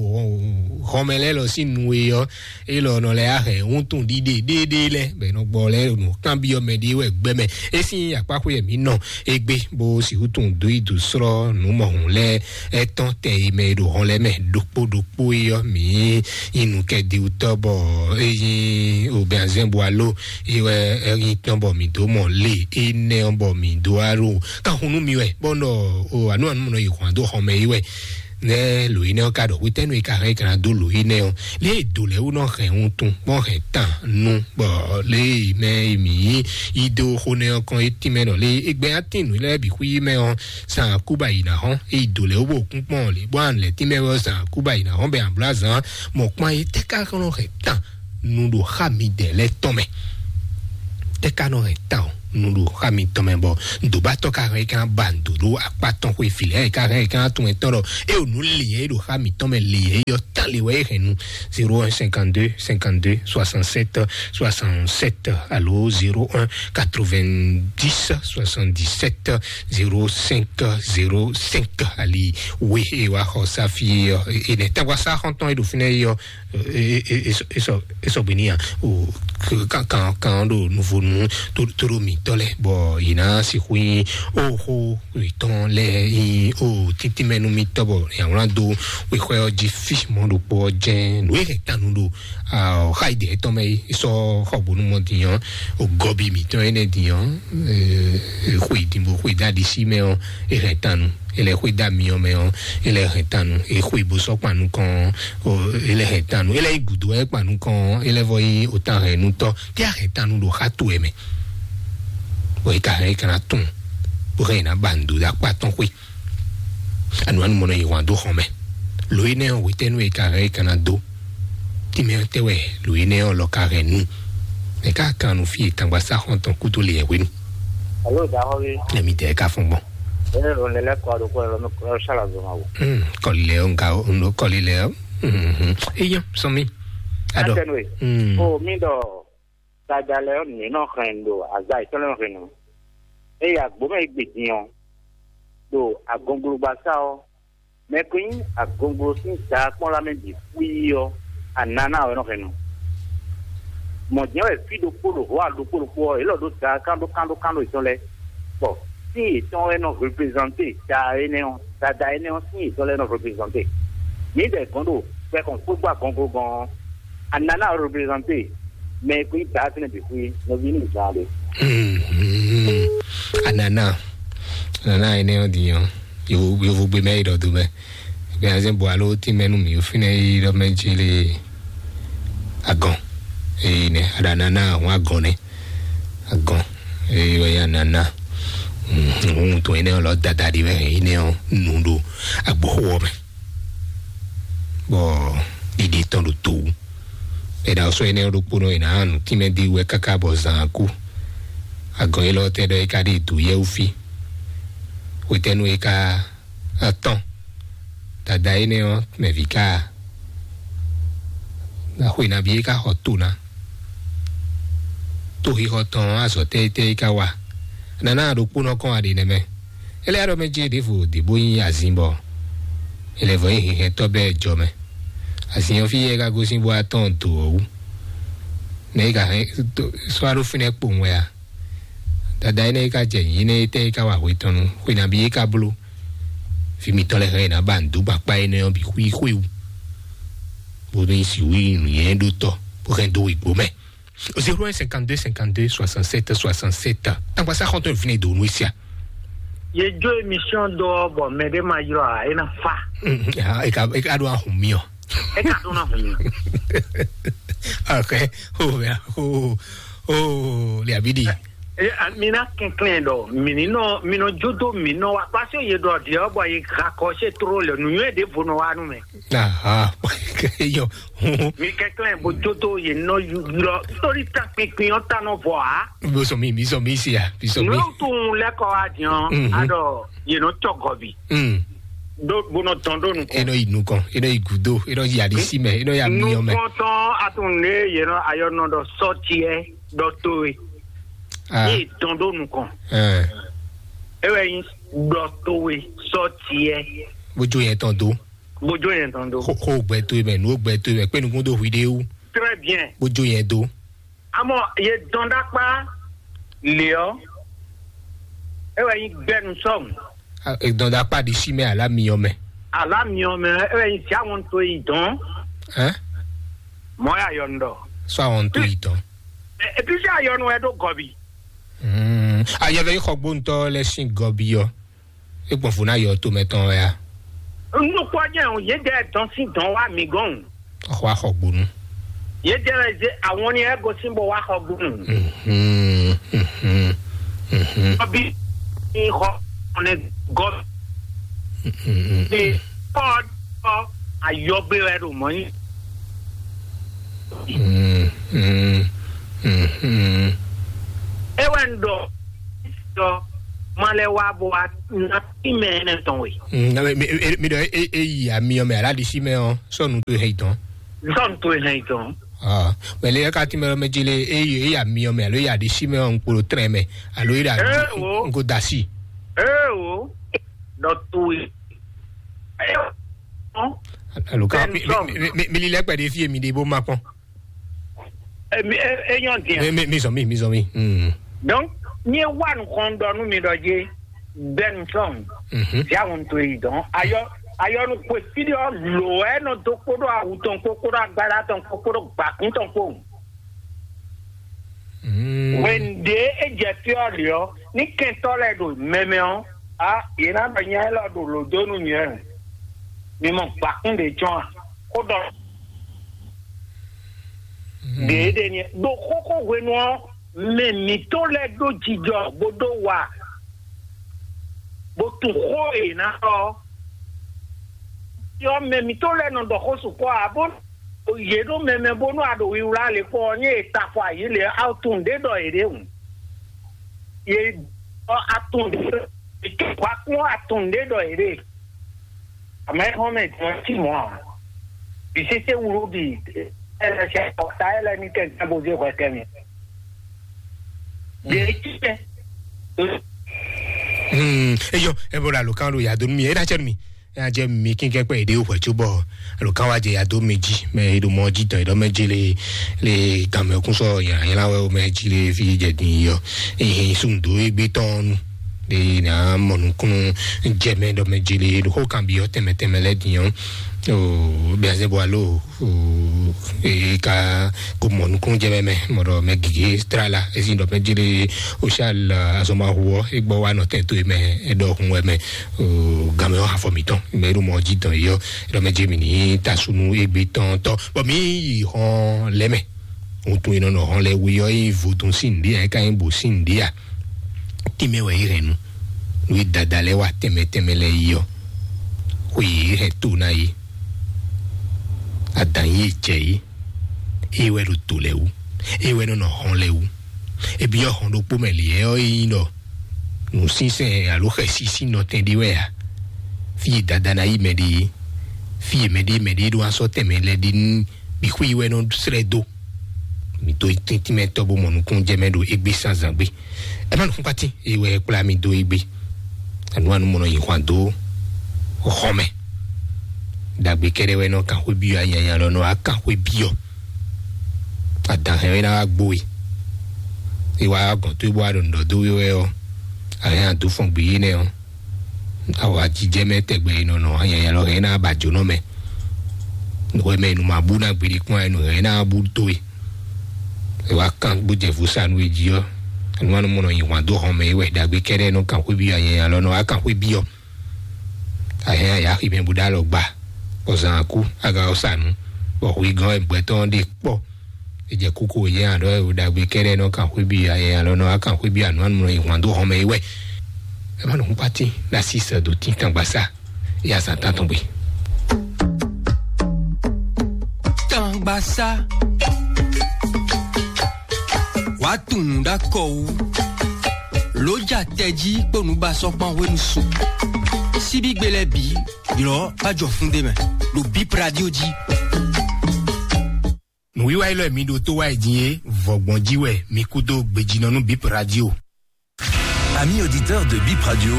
hɔnmɛ lɛ lɔ sín nu e yɔ. Elɔ nɔ lɛ ahɛn ŋutun ɖiɖe ɖéɖé lɛ bɛ nɔ gbɔ lɛ nɔ kan biɔ mɛ ɖe wɛ gbɛmɛ. Esi akpaxwe yɛ mi nɔ egbe bo si wutun do idu srɔ numɔhun lɛ etɔn tɛ yi mɛ ɖo hɔn lɛ mɛ ɖokpo ɖokpo yɔ mi inu kɛ di utɔ bɔ eyi obɛnzɛn bo alo yi wɛ eyi tɔn bɔ mi do mɔ le enɛ bɔ mi do aro kan hunu mi wɛ bɔ nɔ o anu anu nɔ yi hɔn do hɔn mɛ yi wɛ. Nɛ́ lǒ énɛ́ ɔ́ ka ɖɔ hwetɛ́nu e ka hɛn é ka ná dó lǒ énɛ́ ɔ́, lě e dǒ lɛ́ɛ wú nɔ hɛn wuntun bɔ hɛn tan nu, bɔ lě e mɛ e mǐ yí dó xó nɛ́ ɔ́ kɔn é tínmɛ ɖɔ lě e gbɛ atín nǔ lɛ́ɛ bǐ xwí mɛ ɔ́, san kúba yi ná hɔn, é yi dǒ lɛ́ɛ wú bó kún kpɔ́n lě bó an lɛ́ tínmɛ ɔ́, san kúba yi ná hɔn bɛ an bló azǎn mɔ kpɔ́n é tɛ́ ká nɔ hɛn tan nu ɖo xá midɛɛ lɛ́ɛ tɔn mɛ. Tɛ́ ka nɔ hɛn tan nu ɖo xá mitɔn mɛ bɔ ŋdǒbátɔ́ ka hɛn é ka ba ŋdǒ ɖó akpá tɔn xwé fi lɛ́ɛ é ka hɛn é ka tunwun ɛtɔn ɖɔ é o nǔ leyɛ é ɖo xá mitɔn mɛ leyɛ é yɔ tán le wɛ é hɛn nu. Zéro un cinquante-deux cinquante-deux soixante-sept soixante-sept alo zéro un quatre-vingt-dix soixante-dix-sept zéro cinq zéro cinq ali. We e wa xɔ safi ɔ, enɛ tagba sa xɔntɔn e ɖo fínɛ yɔ. Esɔ bini ya o kan kan kan ɖo nuvonu to ɖo mitɔ lɛ bɔ yina sixu yin o xo itɔn lɛ yin o tintinmɛnu mitɔ bɔ yawlan do wexɔ ɔ́ jí fi mɔ ɖokpo ɔ́ jɛn nǔ e hɛn tanu ɖo xa yi dɛ tɔn mɛ yi sɔ xɔ bonu mɔ diyan o gɔbi mitɔ enɛ diyan xɔ idinbo xɔ idadisi mɛ ɔ e hɛn tanu. Ele xwé da miɔ mɛ ɔ, ele hɛn tanu. E xwé bo sɔ kpanu kɔn ɔ, ele hɛn tanu. Ele yi gudo ɛ kpanu kɔn ɔ, ele vɔ yi ota hɛn nutɔ. Te a hɛn tanu ɖo xa to ɛ mɛ. Bɔ e ka hɛn e kana tun. Bo hɛn na ba ndo da kpa tɔn xwé. Anu anu mɔnɔ yi hwan do xɔn mɛ. Lo yi nɛ ɔ wetɛnu e ka hɛn e kana do. Ti mɛ tɛ wɛ lo yi nɛ ɔ lɔ ka hɛn nu. Mɛ ka kan nu fi e tangba sa xɔn tɔn kudo le yɛ hwenu. Alo da xɔ bi. Ɛmi tɛ ka fɔn gbɔn. Ene ro ne lɛ kɔ do ko ro no kɔ sala zo ma wo. Hmm, kɔli lɛ o nka o no kɔli lɛ o. Hmm, hmm. Eyan sɔmi. Adɔ. Atɛnue. Hmm. O mi dɔ dada lɛ o ne nɔ hɛn do aza itɔ lɛ hɛn no. Eya gbome gbe din o. Do agonglogbasa o. Mɛ ko nyí agonglo sín daa kpɔ́n lá mɛ bǐ xwíí ɔ́, anana wɛ nɔ hɛn nu. Mɔ̌ jɛ́n wɛ fí ɖokpó ɖo hɔ̌ ɖokpó ɖokpó ɔ́, yě lɔ ɖó daa kán ɖó kán ɖó kán ɖó yětɔn lɛ́ɛ, bɔ sín yětɔn wɛ nɔ reprezante daa énɛ́ ɔ́, dada énɛ́ ɔ́ sín yětɔn lɛ́ɛ nɔ reprezante. Mǐdɛɛ gɔ́n ɖo gbɛ kɔn kpógbó agɔnglo gɔn ɔ́, anana reprezante mɛ e ko nyí daa fínɛ́ bǐ xwíí, nɔví ní zǎn ɖe. Anana, anana énɛ́ ɔ́ din ɔ́, yovo yovo gbe mɛ yi ɖɔ do mɛ. Gbɛnazɛn bɔ alo tí mɛnu mi fínɛ yi ɖɔ mɛ jí lé agɔn. Eyi nɛ aɖa nana ahun agɔn nɛ agɔn. Eyi wɛ ya nana. Ohun tó enɛ lɔ dada ɖi wɛ enɛ ɔ nu ɖo agboxo ɔ mɛ. Bɔ ɖiɖi tɔn ɖo to wú. Ɛɖa ɔsɔ enɛ ɖokpónɔ yi na nu tínmɛ di wɛ káká bɔ zan kú. Agɔn yi lɔ tɛ ɖɔ yi ka ɖi dǒ yɛwú fí. Hwetɛnu yi ka atɔn. Dada énɛ́ ɔ́ mɛ vǐ ká a? Axwe nabí é ká xɔ to ná? Toxixɔ tɔn ɔ́, azɔ̌ tɛ́ tɛ́ é ká wa? Nana ɖokpónɔ kɔn aɖe nɛ́ mɛ. É lɛ́ ɖɔ mɛ jí ɖěvo ɖě bó nyí azin bɔ é lɛ́ vɔ nyí hɛhɛntɔ́ bɛ́ jɔ mɛ. Azin ɔ́ fí é ká gosín bó atɔn do ɔ́ wú. Nɛ̌ é ka hɛn sɔ́ ɖó fínɛ́ kpowun wɛ a? Dada énɛ́ é ka jɛ nyǐ énɛ́ é tɛ́ é ka wa hwe tɔn nu? Xwe nabí é ka bló? Vǐ mitɔn lɛ́ɛ hɛn ná ba nǔdó gban kpá énɛ́ ɔ́ bǐ xwí xwé wú. Bó ní si wí nǔnyɛ́ ɖó tɔ bó hɛn dó wěgbó mɛ. Zéro un cinquante-deux cinquante-deux soixante-sept soixante-sept. Tangba sa xɔntɔn vine do nu sia. Ye jo émission dɔ bɔ mɛ ɖe ma yrɔ a e na fa. E ka e ka ɖo ahun mi ɔ. E ka ɖo na hun. Ok. O o o le abidi. E a mi na kɛnklɛn dɔ mi ni nɔ mi nɔ jodo mi nɔ wa parce que ye dɔ diɛ bɔ ye rakɔ se tro le nu yɛ de vo nɔ wa nu mɛ. Aha. Yo. Mi kɛnklɛn bo jodo ye nɔ yu lɔ torí ta pinpin ɔ ta nɔ vɔ a. Bo sɔ mi mi sɔ mi si ya mi sɔ mi. N'o tun lɛ kɔ wa diɔn. Mhm. Adɔ ye nɔ tɔ gɔbi. Mm. Do bo nɔ tɔn do nukɔn. E nɔ yi nukɔn, e nɔ yi gudo, e nɔ yi alisi mɛ, e nɔ yi amiyɔn mɛ. Nukɔntɔn atun ne ye nɔ ayɔ nɔ dɔ sɔtiɛ dɔ to ye. Ah. Ye tɔn do nukɔn. Eh. E wɛ yin dɔ to ye sɔtiɛ. Bojo yẹn tɔn do. Bojo yẹn tɔn do. Xo xo gbɛ to ye mɛ, nu gbɛ to ye mɛ, kpe nukun do hui de wu. Très bien. Bojo yẹn do. Amɔ ye dɔn ɖakpa le ɔ, e wɛ yin gbɛnu sɔmu. Dɔn ɖakpa ɖi si mɛ ala miyɔn mɛ. Ala miyɔn mɛ e wɛ yin si awɔn to yi dɔn. Hɛn. Mɔ ya yɔ ndɔ. Sɔ awɔn to yi dɔn. Epi si ayɔnu wɛ ɖo gɔbi. Ayɔ vɛ yi xɔ gbóntɔ lɛ sin gɔbi ɔ. E gbɔn fo na yɔ to mɛ tɔn wɛ ya. Nukpɔ́jɛ́ ɔ́, yědɛɛ dɔn sín dɔn wá mǐ gɔ́n. Xɔ axɔgbonu. Yědɛɛ wɛ zé àwọn ní ɛ gosín bó wá xɔgbonu. Mhm, mhm, mhm. Ɔbí ní xɔ ɔnɛ gɔ. Mhm, mhm. Ní kɔ ɔ ayɔgbé wɛ ɖo mɔ yín. Mhm, mhm, mhm. É wɛ ń ɖɔ ɖɔ ma lɛ wá bó wá ná sí mɛ ɛnɛ tɔn we. Mm, mi, mi, mi ɖɔ e, e yi amiyɔ mɛ alá ɖi sí mɛ ɔ́, sɔnu to hɛn tɔn. Sɔnu to hɛn tɔn. Ah, mɛ le ka ti mɛ lɔ mɛ dzi le e yi e yi amiyɔ mɛ alo e yi aɖi sí mɛ ɔ́, ŋkpolo trɛn mɛ alo e yi aɖi Ee, wo. Ŋko da sí. Ee, wo. Dɔ to yi. Ee, wo. Alo ka Bɛn mi, sɔn. Mi, mi, mi, mi li lɛ kpɛ ɖe fie mi ɖe bó ma kpɔn. E, mi, e, e nyɔ diɛ. Mi, mi, mi zɔn mi, mi zɔn mi. Mm. Donc, mi e wa nukɔn dɔ nu mi dɔ je, Benson. Mhm. Ya won to yi dɔn. Ayɔ, ayɔ nu kwe fi ɖɔ lo ɛ nɔ do kpo ɖo awu tɔn kpo, kpo ɖo agbada tɔn kpo, kpo ɖo gbakun tɔn kpo. Mm. Wende e jɛ fi ɔ liɔ, ni kɛntɔ lɛ ɖo mɛmɛ ɔ, a, yě ná ɖɔ nya élɔ́ ɖo lǒ dó nú nyɛ. Mi mɔ gbakún ɖě jɔn a? Xó ɖɔ ɖě ɖe ni ɖo xóxó hwenu ɔ́, mɛ mǐtɔn lɛ́ɛ ɖó jijɔ bó ɖó wa, bó tunwun xó e yě ná ɖɔ ɔ́. Yɔ mɛ mǐtɔn lɛ́ɛ nɔ ɖɔ xó sukpɔ́ ǎ, bó yě ɖó mɛmɛ bónú a ɖo wiwlá le kpɔ́ ɔ́, ní e ta afɔ ayǐ le ɔ́, a tunwun ɖě ɖɔ yě ɖe hǔn. Yě ɖɔ a tunwun ɖě ɖɔ yě ké hwa kún a tunwun ɖě ɖɔ yě ɖe. Amɛ xɔ́n mɛ jɔn cí mɔ̌ ǎ. Bǐ sésé wúlú bǐ ɛ lɛ sɛ ɔta ɛ lɛ ní kɛ nkan bó zé hwɛ kɛ mi. Ɖě cí mɛ. Hmm, eyɔ, ebo la lo kan ɖo ya do nú mi, e ɖa cɛ nú mi. Ya jɛ mi kínkɛ́ kpɛ èɖé wò hwɛ̌ cóbɔ alo kan wá jɛ ya dó mi jí mɛ e ɖo mɔ jí dɔn e ɖɔ mɛ jí le le gan mɛ kún sɔ yàn yàn wɛ o mɛ jí le fi jɛ din yɔ ehe sun do egbe tɔn nu de na mɔ nukun jɛ mɛ ɖɔ mɛ jí le ɖo xó kan bi yɔ tɛmɛ tɛmɛ lɛ din yɔ o bia zɛ bɔ alo o e ka ko mɔ nukun jɛ mɛ mɛ mɔ ɖɔ mɛ gige tra la esi ɖɔ mɛ jí le o sal azɔma huɔ e gbɔ wa nɔ tɛn to e mɛ e ɖɔ hun wɛ mɛ o gamɛ ɔ afɔ mitɔn mɛ ɖo mɔ jí dɔn yɔ ɖɔ mɛ jɛ mi ní tasunu egbe tɔn tɔ bɔ mi yi hɔn lɛ mɛ ŋutun yi nɔ nɔ hɔn lɛ wi yɔ yi vodun sin ɖi ya ka yi bo sin ɖi ya ti mɛ wɛ yi hɛn nu nu yi dada lɛ wa tɛmɛ tɛmɛ lɛ yi yɔ xwe yi hɛn to na yi adan yi jɛ yi e wɛ ɖo to lɛ wu e wɛ nɔ nɔ hɔn lɛ wu ebi yɔ hɔn ɖokpo mɛ li yɛ ɔ yi nɔ nǔsínsɛn alo xɛsísí nɔtɛn ɖé wɛ a? Fí e dada ná yi mɛ ɖe é, fí e mɛɖé mɛɖé ɖó asɔ tɛnmɛ lɛ ɖe nú bixwé yi wɛ nɔ srɛ́ dó. Mi dó tíntín mɛ tɔ́ bó mɔ nukúnnú jɛ mɛ ɖo égbé sán zǎn gbé. Ɛ má nukúnkpatí e wɛ kplá mi dó égbé. Anu anu mɔ nɔ yi hwan dó xɔ mɛ. Ɖagbe kɛɖɛ wɛ nɔ kan xwé byɔ anyanya lɔ nɔ wá kan xwé byɔ. Adan hɛn wɛ ná wá gbó we. E wá gɔn tó e bó wá ɖo nǔ ɖɔ dó we wɛ ɔ́, a hɛn a dó fɔn gbé yé nɛ ɔ́. Awa jijɛ mɛ tɛgbɛ e nɔ nɔ anyanya lɔ hɛn ná ba jǒnɔ mɛ. Nǔ wɛ mɛ e nǔ ma bú ná gbeɖé kpɔ́n ɛ nǔ hɛn ná bú dó e. E wá kán bó jɛ vo sa nú e jí ɔ́, anu anu mɔ nɔ yi hwan dó hɔn mɛ e wɛ ɖagbe kɛɖɛ nɔ kan xwé byɔ anyanya lɔ nɔ wá kan xwé byɔ. A hɛn a yi axi mɛ bó ɖó alɔ gba, bɔ zan akú, aga ɔ́ sa nǔ, bɔ hwegán wɛ gbɛtɔ́ ɔ́ ɖe kpɔ́. E jɛ kókó yɛ aɖɔ e ɖagbe kɛɖɛ nɔ kan xwé byɔ anyanya lɔ nɔ wá kan xwé byɔ anu anu nɔ yi hwan dó hɔn mɛ e wɛ. Ɛ má nɔ hun pati ná sí sɛ dó tín tangba sa. Ya zan tán tɔn gbe. Tangbasa. Wàá tún un ɖá kɔ wú. Ló ja tɛjí kpó nǔbasɔ́kpán hwenu su. Síbígbe lɛ́ɛ bǐ, ylɔ̌ bá jɔ fún ɖé mɛ. Ɖo Bip Radio jí. Nǔwiwa élɔ́ mi ɖo tó wá jí é, vɔgbɔn jí wɛ mi kú dó gbejínɔ nú Bip Radio. Amis auditeurs de Bip Radio,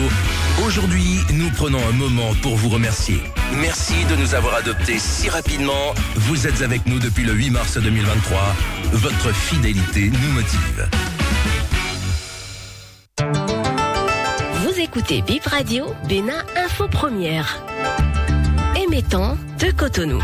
aujourd'hui, nous prenons un moment pour vous remercier. Merci de nous avoir adoptés si rapidement. Vous êtes avec nous depuis le huit mars deux mille vingt-trois. Votre fidélité nous motive. Vous écoutez Bip Radio, Bénin Info Première. Émettant de Cotonou.